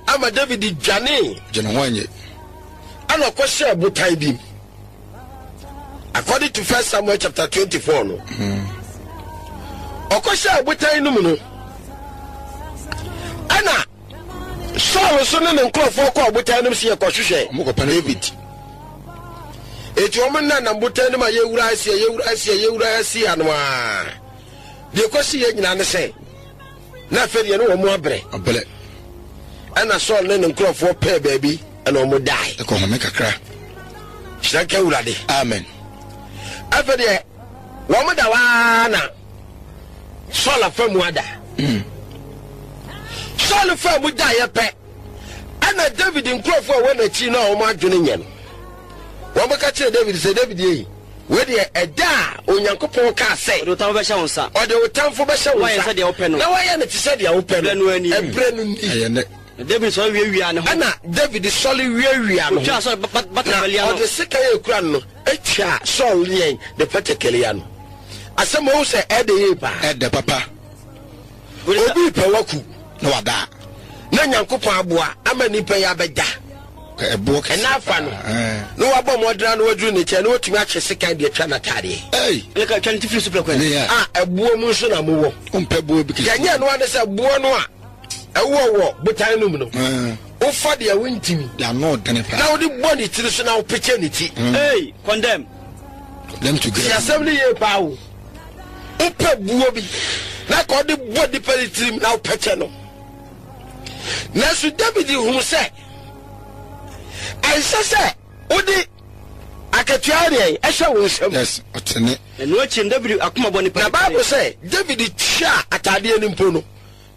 Ama David dwanee. Gye ne ho anye. Ɛna ɔkɔhyɛɛ botan bi mu. According to First Samuel chapter 24 no. Hmm. Ɔkɔhyɛɛ botan no mu no. Ɛna Saul nso ne ne nkurɔfoɔ kɔɔ botan no mu sɛ yɛkɔhwehwɛ David. Eti wɔn nenam botan no mu a yɛwura asia yɛwura asia yɛwura asia no a. Deɛ ɛkɔsi yɛ nyinaa ne sɛ. Na afei deɛ ne wɔn abrɛ. Abrɛ. Ɛna Saul ne ne nkurɔfoɔ pɛɛ baabi ɛna wɔn dae. Ɛkɔ home kakra. Hyira nka Awurade. Amen. Afei deɛ wɔn da waa na Saul afa mu ada. Mm. Saul fa mu daeɛ pɛ ɛna David nkurɔfoɔ a wɔn akyi no a wɔn adwene nyɛ no. Wɔn ka kyerɛ David sɛ David yei. Wei deɛ, ɛda a Onyankopɔn kaa sɛ. Ɔde wo tamfo bɛhyɛ wo nsa. Ɔde wo tamfo bɛhyɛ wo nsa. Na wayɛ sɛdeɛ wopɛ no. Na wayɛ no te sɛ deɛ wopɛ no. Ɛberɛ no ani. Ɛberɛ no ni. Ɛyɛ nnɛ. Na David sɔre wiawiaa ne ho. Ɛnna David sɔre wiawiaa ne ho. Ɔtwaa Saul batakari ano. Na ɔde sekan a ɛkura no no twaa Saul yɛn ne batakari ano. Asɛm a wohu sɛ ɛdɛ yie paa. Ɛdɛ papa. Obi repɛ waku. Na wada. Na Nyankopɔn aboa ama nipa yi abɛda. Ɛboɔ kɛse. Ɛna afa no. Na wabɔ mmɔden na waduru ne nkyɛn na watumi atwe sekan de atwa n'ataadeɛ. Ei. Ɛna ka twa ne ti firi so prɛko. Ne ya. A ɛboɔ mu nso na mowɔ. Wompɛ boɔ bi kɛse. Deɛ nyɛ ɛno ade sɛ boɔ no a ɛwɔ wɔ botan no mu no. Wofa deɛ wontimi. Deɛ ano dene paa. Na wode bɔ ne tiri so na wopekye ne ti. Ei, condemn. Them to Ti asɛm no yie paa o. Wopɛ buo bi na ka ɔde bɔ nipa ne tirim na wopɛkyɛ no. Nanso David hunu sɛ ɛnsɛ sɛ wode akatua deɛ ɛhyɛ wo nsam. Yes, ɔtene. Ɛno akyi no David akoma bɔ ne Na Bible sɛ David twaa ataadeɛ no mpo no,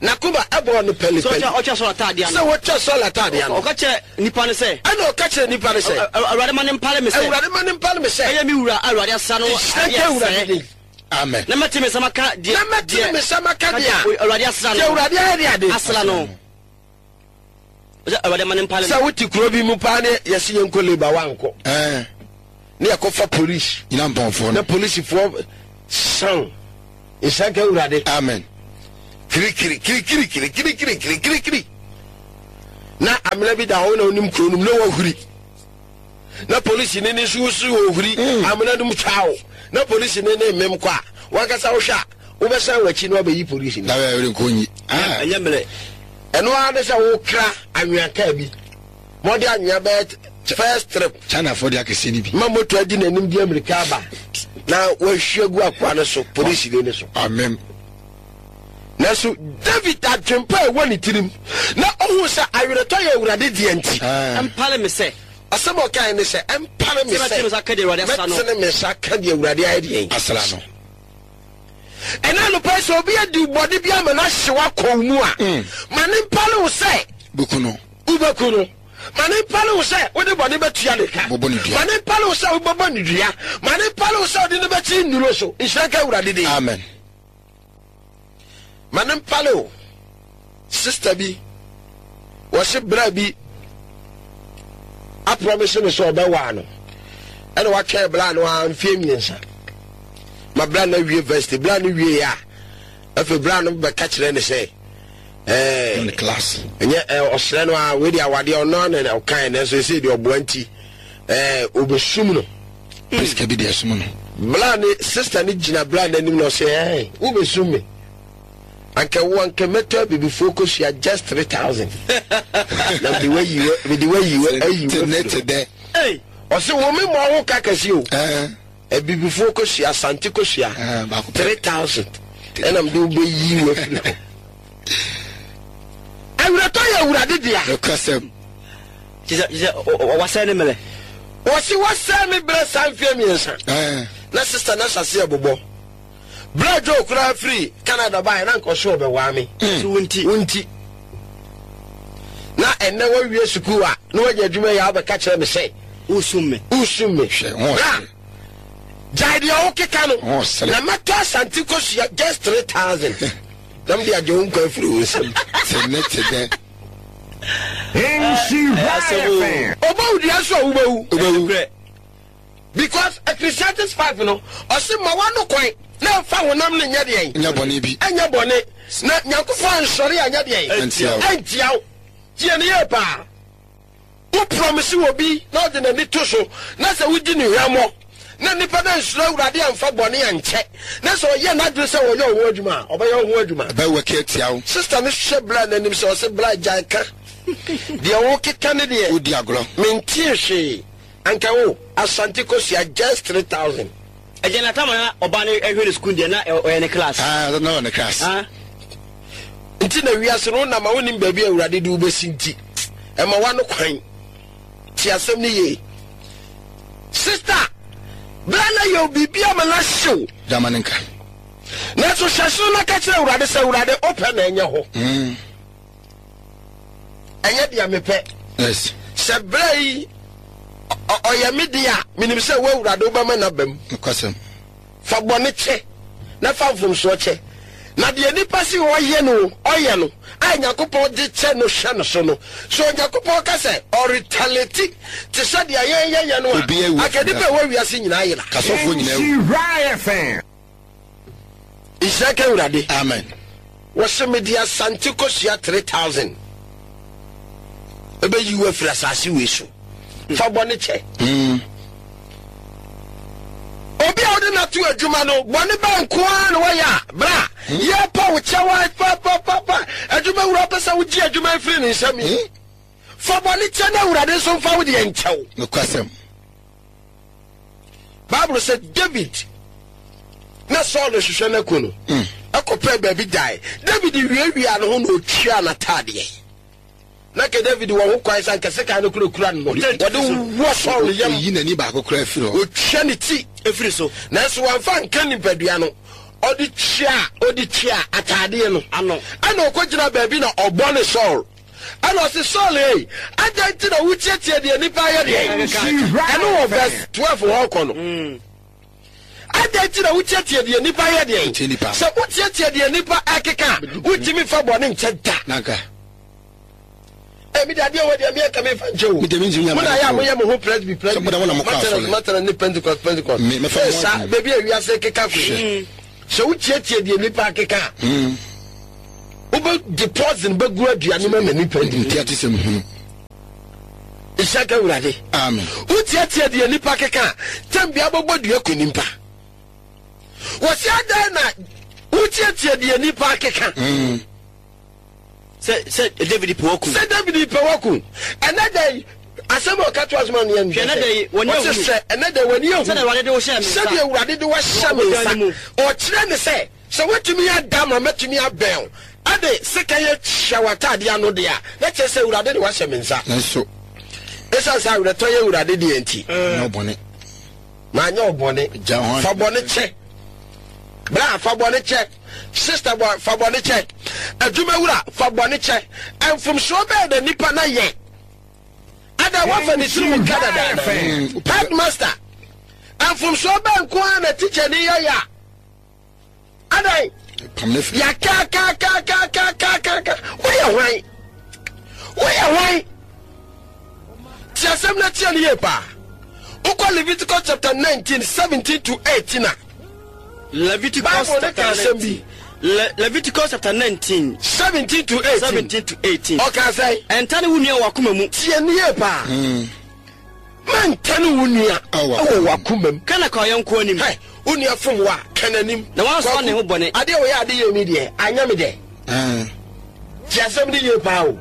n'akoma bɔɔ no pɛlipɛli. Sɛ ɔtwa Saul ataadeɛ ano. Sɛ wɔtwa Saul ataadeɛ ano. Ɔka kyerɛ nnipa no sɛ. Ɛna ɔka kyerɛ nnipa no sɛ. Awurade ma no mpare me sɛ. Awurade ma no mpare me sɛ. Ɛyɛ me wura a Awurade asra no Nhyira nka Awurade din. Amen. Na mɛte me nsa maka deɛ. Na mɛte me nsa maka deɛ. Awurade asra no. Deɛ Awurade ayɛ de ade. Asra no. Sɛ Awurade ma no mpare me. Sɛ wote kuro bi mu paa ne yɛsi yɛn nkɔ leba wankɔ. Ɛɛ. Ne yɛkɔfa polisi. Nyina mpɔnfoɔ no. Na polisifoɔ san. Nhyira nka Awurade. Amen. Kirikiri kirikiri kirikiri kirikiri kirikiri. Na amena bi da hɔ na onim kuro no mu na wahuri. Na polisi ne ne nso wosi ohuri mm. amena no mu twaw. Na polisi ne ne mmem kɔ a wankasa wohwɛ a wobɛsan w'akyi na wabɛyi polisi no. Dabi ɛwɛrɛ nko nyi. Ah. Ɛnyɛ mmerɛ. Ɛno ara ne sɛ wokra anwea kaa bi. Ma ɔde anwea bɛyɛ first trip. Chinafoɔ de akɛseɛ no bi. Ma moto adi n'anim de amirika aba na wahwie agu akoa no so, polisini no so. Amen. Nanso David adwempa a ɛwɔ ne tirim na ohu sɛ aweretɔ yɛ Awurade dea nti. Ɛmpare me sɛ. Asɛm a ɔkae ne sɛ, Ɛmpare me sɛ mɛtene me nsa aka deɛ Awurade asra no. Mɛtene me nsa aka deɛ Awurade ayɛ deɛn? Asra no. Ɛna anɔpa yi sɛ obi adi wo bɔne bi ama no ahye w'akɔ wo mu a, ma ne mpare wo sɛ. Bɛku no. Wobɛku no. Ma no mpare wo sɛ wode bɔne bɛtua ne ka. Wobɛbɔ no dua. Ma no mpare wo sɛ wobɛbɔ no dua. Ma no mpare wo sɛ wode no bɛkye nnuro so. Nhyira nka Awurade din. Amen. Ma no mpare wo. Sista bi, wɔse bra bi aprɔmise no sɛ ɔbɛwaa no. Ɛna watwɛn bra no ara mfeɛ mmiɛnsa. Ma bra no awie varsity. Bra no wie a, afei bra no bɛka kyerɛ ne sɛ, Ɛɛ class. Ɛnyɛ ɛɛ ɔsrɛ no a wei de awadeɛ ɔno ara na ɔkae nanso ɛsɛ deɛ ɔboa nti ɛɛ ɔbɛsum no. Prisca bi deɛ ɛsum no. Bla ne sista ne gyina bla n'anim na ɔsɛ ɛɛ wobɛsum me anka wo anka mɛtɔ abibifoɔ kosua just 3000 na mede wayi mede wayi ayi wafiri ɔsɛ wo me mmɔ ho ka kɛse o. Abibifoɔ kosua, Asante kosua, 3000 ɛna mede wo bɛyi wo afiri hɔ. Awerɛtɔ yɛ Awurade dea. Nokwasɛm. Kyesɛ wasɛe ne mmerɛ. Wɔsi wasɛe me berɛ saa mfeɛ mmiɛnsa. Na sista no ahyɛ aseɛ bobɔ. Berɛ a Joe koraa firi Canada baeɛ na nka ɔse ɔbɛwaa me. So wo nti. Wo nti. Na ɛnnɛ wawie sukuu a na wanya adwuma yi a wobɛka kyerɛ me sɛ. Wosum me. Wosum me. Hwɛ, ho Bra, ɔsere. gyae deɛ wokeka no. Ho ɔsere. Na mɛtɔ Asante kosua just 3000 na mede agye wo nkwa afiri wo nsam. Te ne te dɛ. Nhyira FM. Ɔbɔ wo dua nso a wobɛwu. Wobɛwu. Because Ecclesiastes 5 no, ɔse ma w'ano kwan na mfa honam no nyɛ deɛn? Nyɛ bɔne bi. Ɛnyɛ bɔne. Na Nyankopɔn ansɔre anyɛ deɛn? Antia wo. Antia wo. Tie no yie paa. Wo promise obi na ɔde n'ani to so na sɛ wodi no hwammɔ na nipa no ansuro Awurade amfa bɔne ankyɛ na sɛ ɔyɛ n'adwene sɛ ɔyɛ wo ho adwuma a, ɔbɛyɛ wo ho adwuma. Ɛbɛ work atia wo. Sister no hwɛ bra no anim sɛ ɔse bra gyae ka deɛ wokeka ne deɛ. Wodi agorɔ. Mentee hwee. Anka wo Asante kosua just 3000. Ɛgya na tam a na ɔbaa no hwɛ no sukuu deɛ na ɔyɛ ne class. Ah, na ɔyɛ ne class. Ah. Nti na wiase no wonam a wonim baabi a Awurade de wobɛsi nti ɛma wano kwan. Te asɛm no yie. Sister, bra na yɛ biribi ama no ahyew. Dama ne nka. Nanso hyɛ soro na ka kyerɛ Awurade sɛ Awurade wopɛ na ɛnyɛ hɔ. Mm. Ɛnyɛ deɛ mepɛ. Yes. Sɛ berɛ yi ɔyɛ me deɛ a, menim sɛ wo Awurade wobɛma n'aba mu. Nokwasɛm. Fa bɔne kyɛ, na fa mfomsoɔ kyɛ. Na deɛ nipa se ɔyɛ no, ɔyɛ no, a Nyankopɔn de kyɛ no hyɛ no so no, sɛ Onyankopɔn ka sɛ ɔretaliate te sɛ deɛ yɛn yɛyɛ no a, anka nnipa a ɛwɔ wiase nyinaa ayera. Kasɔfoɔ nyinaa awu. Nhyira FM. Nhyira nka Awurade. Amen. Wɔse mede Asante kosua 3000 ɛbɛyi wo afiri asase wei so. Fa bɔne kyɛ. Mm. Obi a wode no ato adwuma no, bɔne bɛn nko ara na wɔyɛ a, bra, hmm? yɛpa wo kyɛw a papapapa, adwuma wura pɛ sɛ wogye adwuma afiri ne nsam yi. Hmm? Fa bɔne kyɛ na Awurade nso mfa wo deɛ nkyɛw. Nokwasɛm. Bible sɛ David na Saul hwehwɛ no aku no, hmm. ɛkɔpɛɛ baabi dae. David wiawia ne ho na ɔtwaa n'ataadeɛ. Na nka David wɔ ho kwan sɛ anka sekan no kura kura no no, wɔde wɔ Saul yam. Oyi n'ani baako koraa firi hɔ. Otwa ne ti firi so. Nanso wamfa anka nipadua no, ɔde twaa ɔde twaa ataadeɛ no ano. Ɛna ɔkɔgyina baabi na ɔbɔ ne Saul. Ɛna ɔse, Saul ei, adɛn nti na wotiatia deɛ nnipa ayɛ deɛ? Ɛno wɔ verse 12 hɔ kɔ no. Mm. Adɛn nti na wotiatia deɛ nnipa yɛ deɛn? Sɛ wotiatia deɛ nnipa ɛkeka a, wontumi mfa bɔne nkyɛ da. Emi de adeɛ wɔ deɛ mi ɛka mi nfa nkyɛ o. Mi de mi ntumi nya Mo na yɛ a mo yɛ mo ho presby presby. Sɛ mo da mo na mo kɔ asɔre. Matana ne Pentecost Pentecost. Me mɛfa mo Sa adwene. beebi a wiase keka kɔ yi. Sɛ wotietie deɛ nipa akeka a. Wobɛ de poison bɛgu aduane mu ama nipa di. Nti ate sɛm hunu. Nhyira ka Awurade. Amen. Wotietie deɛ nipa keka a, tɛm bia bɛbɔ dua kɔ nipa. Wɔsi adan na wotietie deɛ nipa akeka. Sɛ sɛ David pɛ waku. Sɛ David pɛ waku. Ɛnɛ da yi, asɛm a ɔka to asoma no yɛ Hwɛ, ɛnɛ da yi, w'ani Ɔse ahunu. hwɛ, ɛnɛ da yi w'ani ahunu. Sɛdeɛ Awurade de wo hyɛɛ me nsa. Sɛdeɛ Awurade de wo ahyɛ me Wɔ ɔbodan no nsa. mu. Ɔkyerɛ ne sɛ, sɛ woatumi ada ma matumi abɛn wo, ɛde sekan ahyɛ w'ataadeɛ ano deɛ a, na kyerɛ sɛ Awurade de wo ahyɛ me nsa. Nanso. Esiane sɛ awerɛtɔ yɛ Awurade deɛ nti. Nyɛ wo bɔne. Manyɛ wo bɔne. Gya ho Fa bɔne kyɛ. Bra, fa bɔne kyɛ. Sister bɔ, fa bɔne kyɛ. Adwumawura, fa bɔne kyɛ. Mfomsoɔ bɛɛ na nipa na yɛ. Ada wafa ne tiri mu ka dada. Headmaster, mfomsoɔ bɛɛ nko ara na teacher ni yɛ yɛ a. Adan, yɛakaakaakaakaakaaka. Woyɛ hwan? Woyɛ hwan? Ti asɛm no atia no yie paa. Wokɔ Leviticus chapter 19, 17 to 18 a. Leviticus Bible no chapter ka asɛm bi. 19. Le Leviticus chapter 19. 17 to 18. 17 to 18. Ɔka sɛ. Ɛntane wo nua wɔ w'akoma mu. Tie no yie paa. Mantane wo nua wɔ w'akoma mu. Ka na ka ɔyɔnko anim. Hɛ, wo nua fom wo a, ka n'anim. Na wansoa ne ho bɔne. Adeɛ a wɔyɛ ade yie mi deɛ, anyɛ me dɛ. Tie asɛm no yie paa o.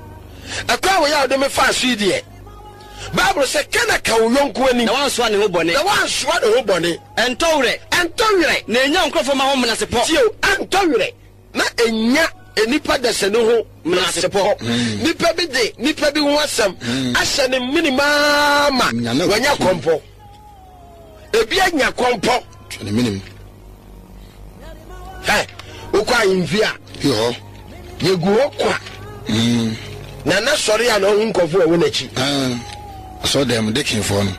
Ɛkwan a wɔyɛ a wɔde me faa so yi deɛ, Bible sɛ, ka na ka wo yɔnko anim. Na wansoa ne ho bɔne. Na wansoa ne ho bɔne. Ɛntɔ werɛ. Ɛntɔ werɛ. Na ɛnya nkurɔfoɔ ma ho menasepɔ. Tie o, ɛntɔ werɛ. Na ɛnya nnipa dasani ho menasepɔ. Nnipa bi de nnipa bi ho asɛm ahyɛ ne menem ara ma wanya kɔmpɔ. Ebi anya kɔmpɔ. Hɛ, wokɔ ahemfie a, yɛgu hɔ kwa. Nana sɔre a na ɔhu nkɔfo a ɛwɔ n'akyi. Asɔredan mu dekinfoɔ no.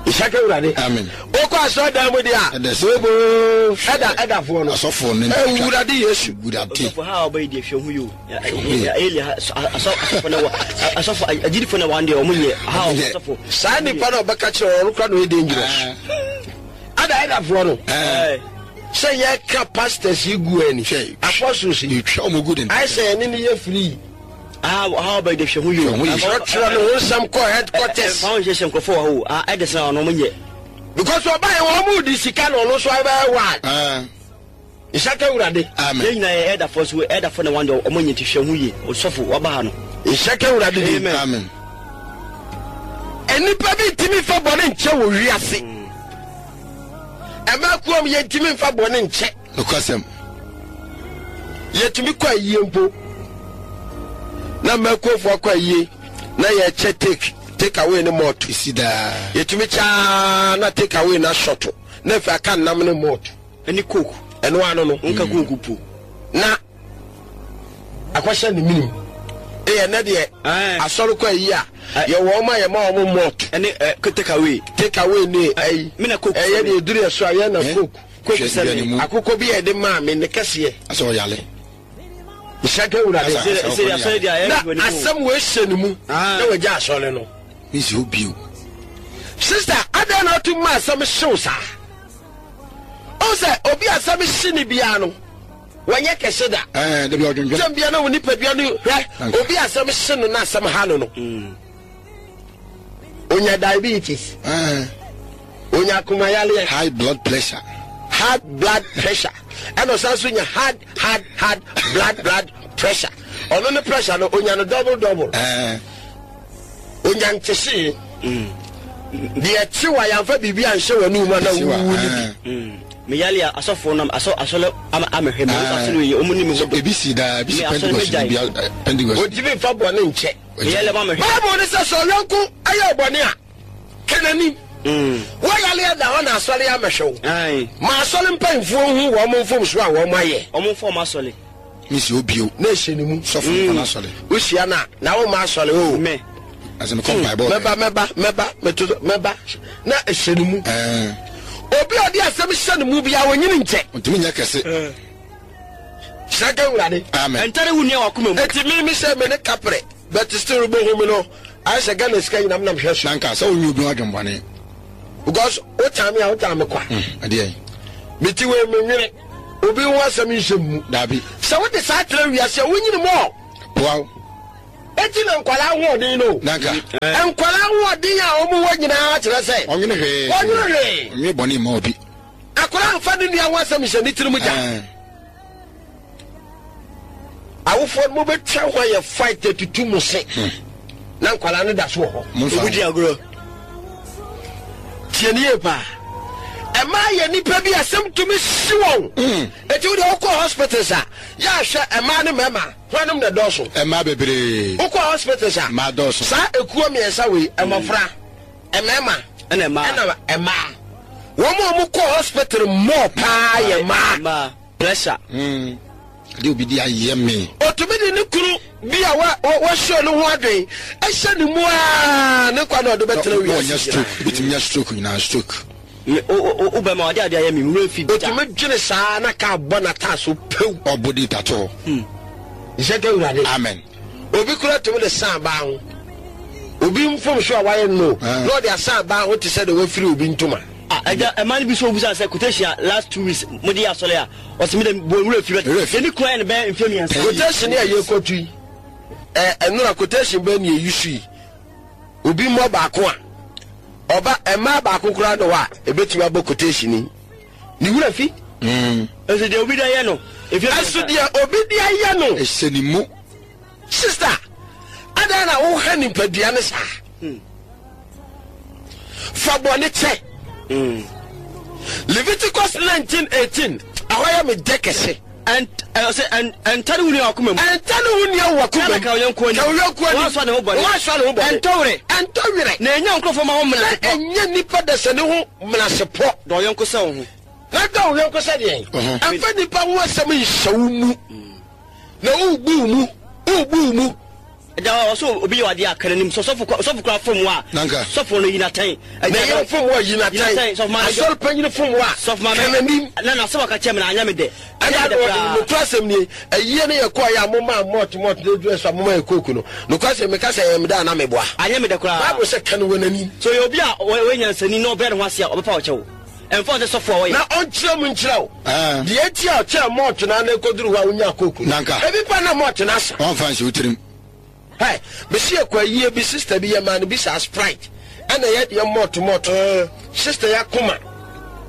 Nhyira ka Awurade. Amen. Wokɔ asɔredan mu deɛ a, booboo, ɛda ɛdafoɔ no. Asɔfoɔ no. Awurade Yesu. Awurade. Ɔsɔfo ha a ɔbɛyi deɛ hwɛ ho yi o. Eli ha asɔfo na wɔ asɔfo agyidifo na wɔn deɛ wɔn nyɛ ha ɔsɔfo. Saa nipa na ɔbɛka kyerɛ wɔn kora na ɔyɛ dangerous. Ɛda ɛdafoɔ no. Sɛ yɛka pastors yi gu ani. Apostles yi. Yɛtwa wɔn gu de. Ayɛ sɛ yɛne ne yɛ free. Ah, ha ɔbɛyi de hwɛ ho yi o. Ɔtwerɛ ne ho nsɛm kɔ headquarters. Fa ho nhyehyɛ nkurɔfoɔ wɔ hɔ o. Ah, ɛde sɛ ɔno ɔmo nyɛ. Because ɔba yɛ wɔn mu di sika na ɔno nso abɛyɛ wild. Nhyira ka Awurade. Amen. Yɛn nyinaa yɛ ɛdafoɔ so ɛdafoɔ na wɔn deɛ ɔmo nyɛ nti hwɛ ho yie. Osɔfo waba ha no. Nhyira ka Awurade din. Amen. Amen. Nnipa bi ntumi nfa bɔne nkyɛ wɔ wiase. Ɛmaa kuom yɛntumi nfa bɔne nkyɛ. Nokwasɛm. Yɛtumi kɔ ayie mpo na mmakuofoɔ akɔ ayie na yɛkyɛ take take away ne malt. Esi daa. Yɛtumi kyaa na take away na shɔto na afei aka nnam ne malt. Ɛne coke. Ɛno ano no. Nka coke po. Na akɔhyɛ ne minim. Eyɛ nɛ deɛ asɔre kɔ ayi a yɛwɔ wɔn a yɛma wɔn malt. Ɛne take away. Take away ne ayi. Mena coke. Ɛyɛ deɛ eduru yɛ so a yɛn na coke. Coke sɛ me. Akokɔ bi a yɛde maa me ne kɛseɛ. Asɛ ɔyale. Nhyɛ ka Awurade. Na asɛm wei hyɛ ne mu na wagya asɔre no. Mesi hɔ bio. Sister, adɛn na wotum ma asɛm hyew saa? Ɔhu sɛ obi asɛm hye ne biara no, wɔnyɛ kɛse da. Kyɛm biara na wo nipadua no hwɛ obi asɛm hye no na asɛm ha no no. Onya diabetes. Onya akomayaleɛ. High blood pressure. High blood pressure. Ɛna ɔsan so nya hard hard hard blood blood pressure. Ɔno ne pressure no onya no double double. Onya nkyehye. Deɛ kyew a yɛamfa biribi anhyɛ w'anum mu ana wuwu no bi. Meyale a asɔfoɔ no asɔ asɔre ama amehwɛ me nso asɔre yɛ ɔmo ni me ho dɔ. Ebi si daa ebi si Pentecost bi Pentecost. Ontumi nfa bɔne nkyɛ. Meyale ma mehwɛ. Bible ne sɛ sɛ ɔyɔnko ayɛ ɔbɔne a ka n'anim. Woayale ada hɔ na asɔre amɛhwɛ wo. Ma asɔre mpanyinfoɔ nhu wɔn mfomsoɔ a wɔn ayɛ. Wɔn mfa wɔn asɔre. Mesi hɔ bio. Na ɛhyɛ ne mu. Sɔfo mfa n'asɔre. Wohyia no a na womma asɔre o. Me. Asɛ mekɔ mpaebɔ. Mɛba mɛba mɛba meto mɛba na ɛhyɛ ne mu. Obi a ɔde asɛm hyɛ ne mu biara onyini nkyɛ. Ɔntumi nyɛ kɛse. Hyira ka Awurade. Amen. Ɛntare wo nua w'akoma mu. Eti mi mi sɛ me ne kaprɛ. But still wobɛhu me no, ayɛ sɛ Ghana sika nyinaa menam hwɛ so. Na nka sɛ wonyɛ obi ho adwembɔne. Because wotaa me a wotaa me kwa. Ɛdeɛn? Mete wei menwene obi ho asɛm nhyɛ mu. Daabi. Sɛ wote saa tra wiase a wonyini mɔ. Boa wo. Eti na nkwadaa ahoɔden no. Na nka. Nkwadaa ahoɔden a wɔn wɔ nyinaa kyerɛ sɛ. Ɔnwene hwee. Ɔnwene hwee. Ɔnwene bɔne mma obi. Akwadaa nfa ne nua ho asɛm nhyɛ ne tirim gya. Awofoɔ no mobɛtwa ho ayɛ fight atutu mo se na nkwadaa no da so wɔ hɔ. Obi di agorɔ. Tie ne yie paa. Ɛmaa yɛ nipa bi asɛm tumi si wɔn. Eti wo deɛ wokɔ hospitals a yɛ ahwɛ ɛmaa ne mmarima hwanom na ɛdɔɔso. Ɛmaa bebree. Wokɔ hospitals a. Mmaa dɔɔso. Saa ekuo mmiɛnsa wei mmɔfra, mmarima ɛna mmaa. Ɛna mmaa. Wɔn a wɔkɔ hospital more paa yɛ mmaa. Mmaa. Pressure. Ade obi de ayɛ me. Otumi de ne kunu bi a wahyɛ ne ho adwen hyɛ ne mu aa ne nkwa na ɔde bɛtena wiase nyinaa. Stroke, ebitumi nya stroke nyinaa stroke. Wo bɛma ɔde ade ayɛ me wura fi da. Otumi dwene saa na kaa bɔ n'ataaso pew. Ɔbɔ di tato hɔ. Nhyɛ ka Awurade. Amen. Obi kura tumi de san baa ho. Obi mfomso a wayɛ no na ɔde asan baa ho te sɛ de wafiri obi ntoma. Ah agya ɛma no bi so obusa sɛ quotation a last 2 weeks mo de yɛ asɔre a ɔsɛ mi dɛ bɔ nwura fi bɛ yɛ ne kura yɛ no bɛyɛ mfe 3. Quotation a yɛ kɔtu yi ɛ ɛnora quotation bɛ ne yɛyi so yi obi mmɔ baako a ɔba ɛmaa baako koraa ne hɔ a ebetumi abɔ quotation yi ne wura fi. Ɛsɛ deɛ obi de ayɛ no. Ɛso deɛ obi de ayɛ no. Ɛhyɛ ne mu. Sister, adɛn na woha nipadua no saa? Fa bɔne kyɛ. Leviticus 19:18, ɛhɔ yɛ me dɛ kɛse. Ɛntane wo nua wakoma mu. Ɛntane wo nua wakoma mu. Ka wo yɔnko anim. Ka wo yɔnko anim. Woasoa ne ho bɔne. Woasoa ne ho bɔne. Ɛntɔ werɛ. Ɛntɔ werɛ. Na ɛnya nkurɔfoɔ ma ho menasepɔ. Na ɛnya nnipa dasani ho menasepɔ. Dɔ wo yɔnko sɛ wo ho. Na dɔ wo yɔnko sɛ deɛn? Ɛmfa nnipa ho asɛm nhyɛ wo mu. Na wobu wo mu, wobu wo mu. Agya ɔsɛ obi yɛ adeɛ a ka n'anim sɛ sɔfo sɔfo kora fom wo a sɔfo no yi n'atɛn. Na yɛn fom wo a yi n'atɛn. Asɔre panyin fom wo a ka n'anim. Na n'asɛm a ɔka kyerɛ me no anyɛ me dɛ. Ɛna nokora asɛm nie, ayie no yɛ kɔɔ yɛ a moma malt malt na eduru ɛso a moma yɛ coke no, nokora asɛm meka sɛ ɛyɛ me dɛ a na meboa. Anyɛ me dɛ koraa. Bible sɛ ka no wɔ n'anim. Sɛ ɔyɛ obi a ɔyɛ nyansani na ɔbrɛ ne ho ase a ɔbɛpa wo kyɛw. Ɛmfa ho sɛ sɔfo a ɔyɛ. Na ɔnkyerɛ mu nkyerɛ wo deɛ enti a ɔkyɛɛ malt no ara na ɛkɔduru hɔ a wonyaa coke no. Ebi pa na malt no asa. Wamfa anhyɛ wo tirim. Hey, mesi yɛkɔ ayie bi, sister bi yɛmaa no bi saa Sprite ɛna yɛ deɛ malt malt. Sister yi akoma,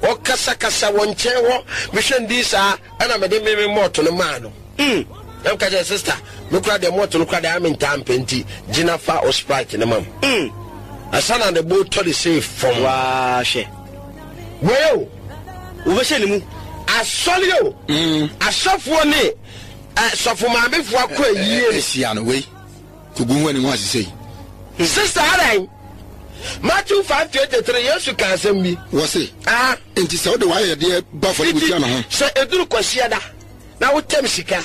ɔkasakasa wɔ nkyɛn hɔ, mehwɛ no din saa ɛna mede me me malt no maa no. Na meka kyerɛ sister, me kora deɛ malt no kora deɛ mentaa mpɛ nti gyina fa o Sprite no ma m. Ansa na ne bo tɔ de sei fam. Waa hwɛ. Wei o. Wobɛhyɛ ne mu. Asɔre o. Asɔfoɔ ne sɔfo maamefoɔ akɔ ayie no. Ahyia no wei. Kogu ho anim ho ase sei. Sister adan. Matthew 5:23 Yesu ka asɛm bi. Wɔse. Ah. Enti sɛ wode w'ayɛyɛdeɛ ba afɔrebukyia no ho. Sɛ eduru Kwasiada na wotɛm sika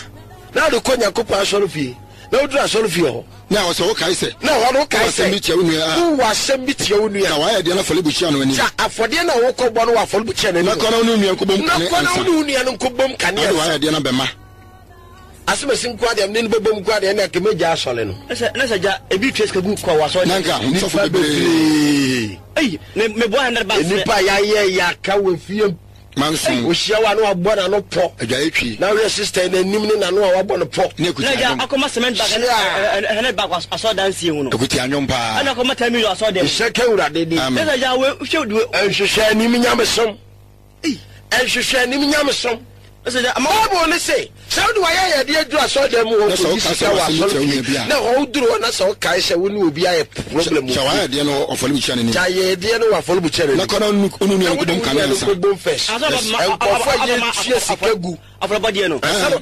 na wode kɔ Nyankopɔn asɔrefie na woduru asɔrefie hɔ. Na ɛwɔ sɛ wokae sɛ. Na ɛhɔ no wokae sɛ. Wowɔ asɛm bi tia wo nua a. Wowɔ asɛm bi tia wo nua. Ka w'ayɛdeɛ no afɔrebukyia no anim. Ka afɔdeɛ no a wokɔbɔ no wɔ afɔrebukyia no anim. Na kɔ na wo ne wo nua nkɔbom kane ansa. Na kɔ na wo ne wo nua no nkɔbom kane ansa. Na wode w'ayɛdeɛ no abɛma. Asɛmasi nko ara deɛ mene no bɛbom nko ara deɛ ɛnna anka mɛgya asɔre no. Na sɛ na sɛ gya ebi tua sika gu kɔ wɔ asɔre. Na nka sɔfo bebree. Ei me meboa 100 bucks. Nnipa a yɛayɛ yɛaka wɔ fie. Manso. Ohyia wo a na wabɔ n'ano pɔ. Adwaeɛ twi. Na wohwɛ sister yi n'anim ne n'ano a wabɔ no pɔ. Ne akuti Na agya anwom. akɔma cement bag Hyia. 100 bag wɔ asɔre dansie ho no. Akuti anwom paa. Ɛna akɔma 10 million asɔre dɛm. Nhyɛ ka Awurade din. Amen. Na sɛ agya wei hwɛ duwe. Nhwehwɛ anim nyamesom. Nhwehwɛ anim nyamesom. Bible no se, sɛ wode w'ayɛyɛdeɛ duru asɔredan mu hɔ Na sɛ kɔyi woka sika sɛ wɔ w'asɛm tia wo nua asɔrefie bi a, na ɛhɔ woduru hɔ na sɛ wokae sɛ wo ne obi ayɛ problem Kyɛ wɔ fie, w'ayɛyɛdeɛ no wɔ afɔrebukyia no anim. kyɛ ayɛyɛdeɛ no wɔ afɔrebukyia no Na anim. kɔ na wo ne wo nua Na no wo ne nkɔbom wo kane nua no ansa. nkɔbom first. Nkurɔfoɔ a yɛtua sika gu. Afɔrebɔdeɛ no. Ansa na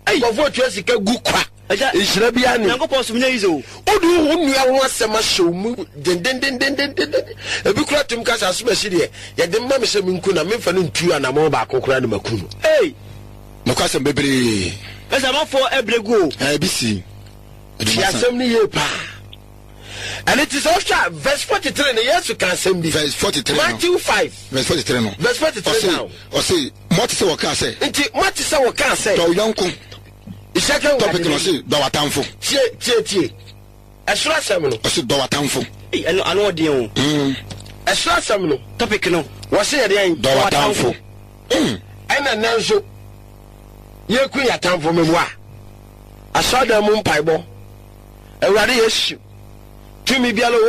Nkurɔfoɔ tua sika gu kwa. Agya, Nhyira biara nnim. Nyankopɔn som nyɛ easy o. Wode wo nua ho asɛm ahyɛ wo mu dendendendendenden. Ebi koraa tumi ka sɛ asomasi deɛ, yɛde ma me sɛ menku no a, memfa no ntu anammɔn baako koraa na maku no. Ei! Nokwasɛm bebree. Ɛsɛ amanfoɔ ɛbrɛ gu o. Ɛɛ, ebi si. Tie asɛm no yie paa. Ɛno nti sɛ wohwɛ a verse 43 no Yesu ka asɛm bi. Verse 43 no. Matthew 5. Verse 43 no. Verse 43 now. Ɔse, moate sɛ wɔkaa sɛ. Nti moate sɛ wɔkaa sɛ. Dɔ wo yɔnko. Nhyɛ ka Topic no ɔse dɔ w'atamfo. Tie tie tie. Ɛsoro asɛm no. Ɔse dɔ w'atamfo. Ei, ɛno ano ɔden o. Mm. Ɛsoro asɛm no. Topic no. Wɔse yɛ deɛn? Dɔ w'atamfo. Mm. Ɛna nnɛ nso yɛku yɛn atamfo meboa. Asɔredan mu mpaebɔ. Awurade Yesu, tumi biara wɔ.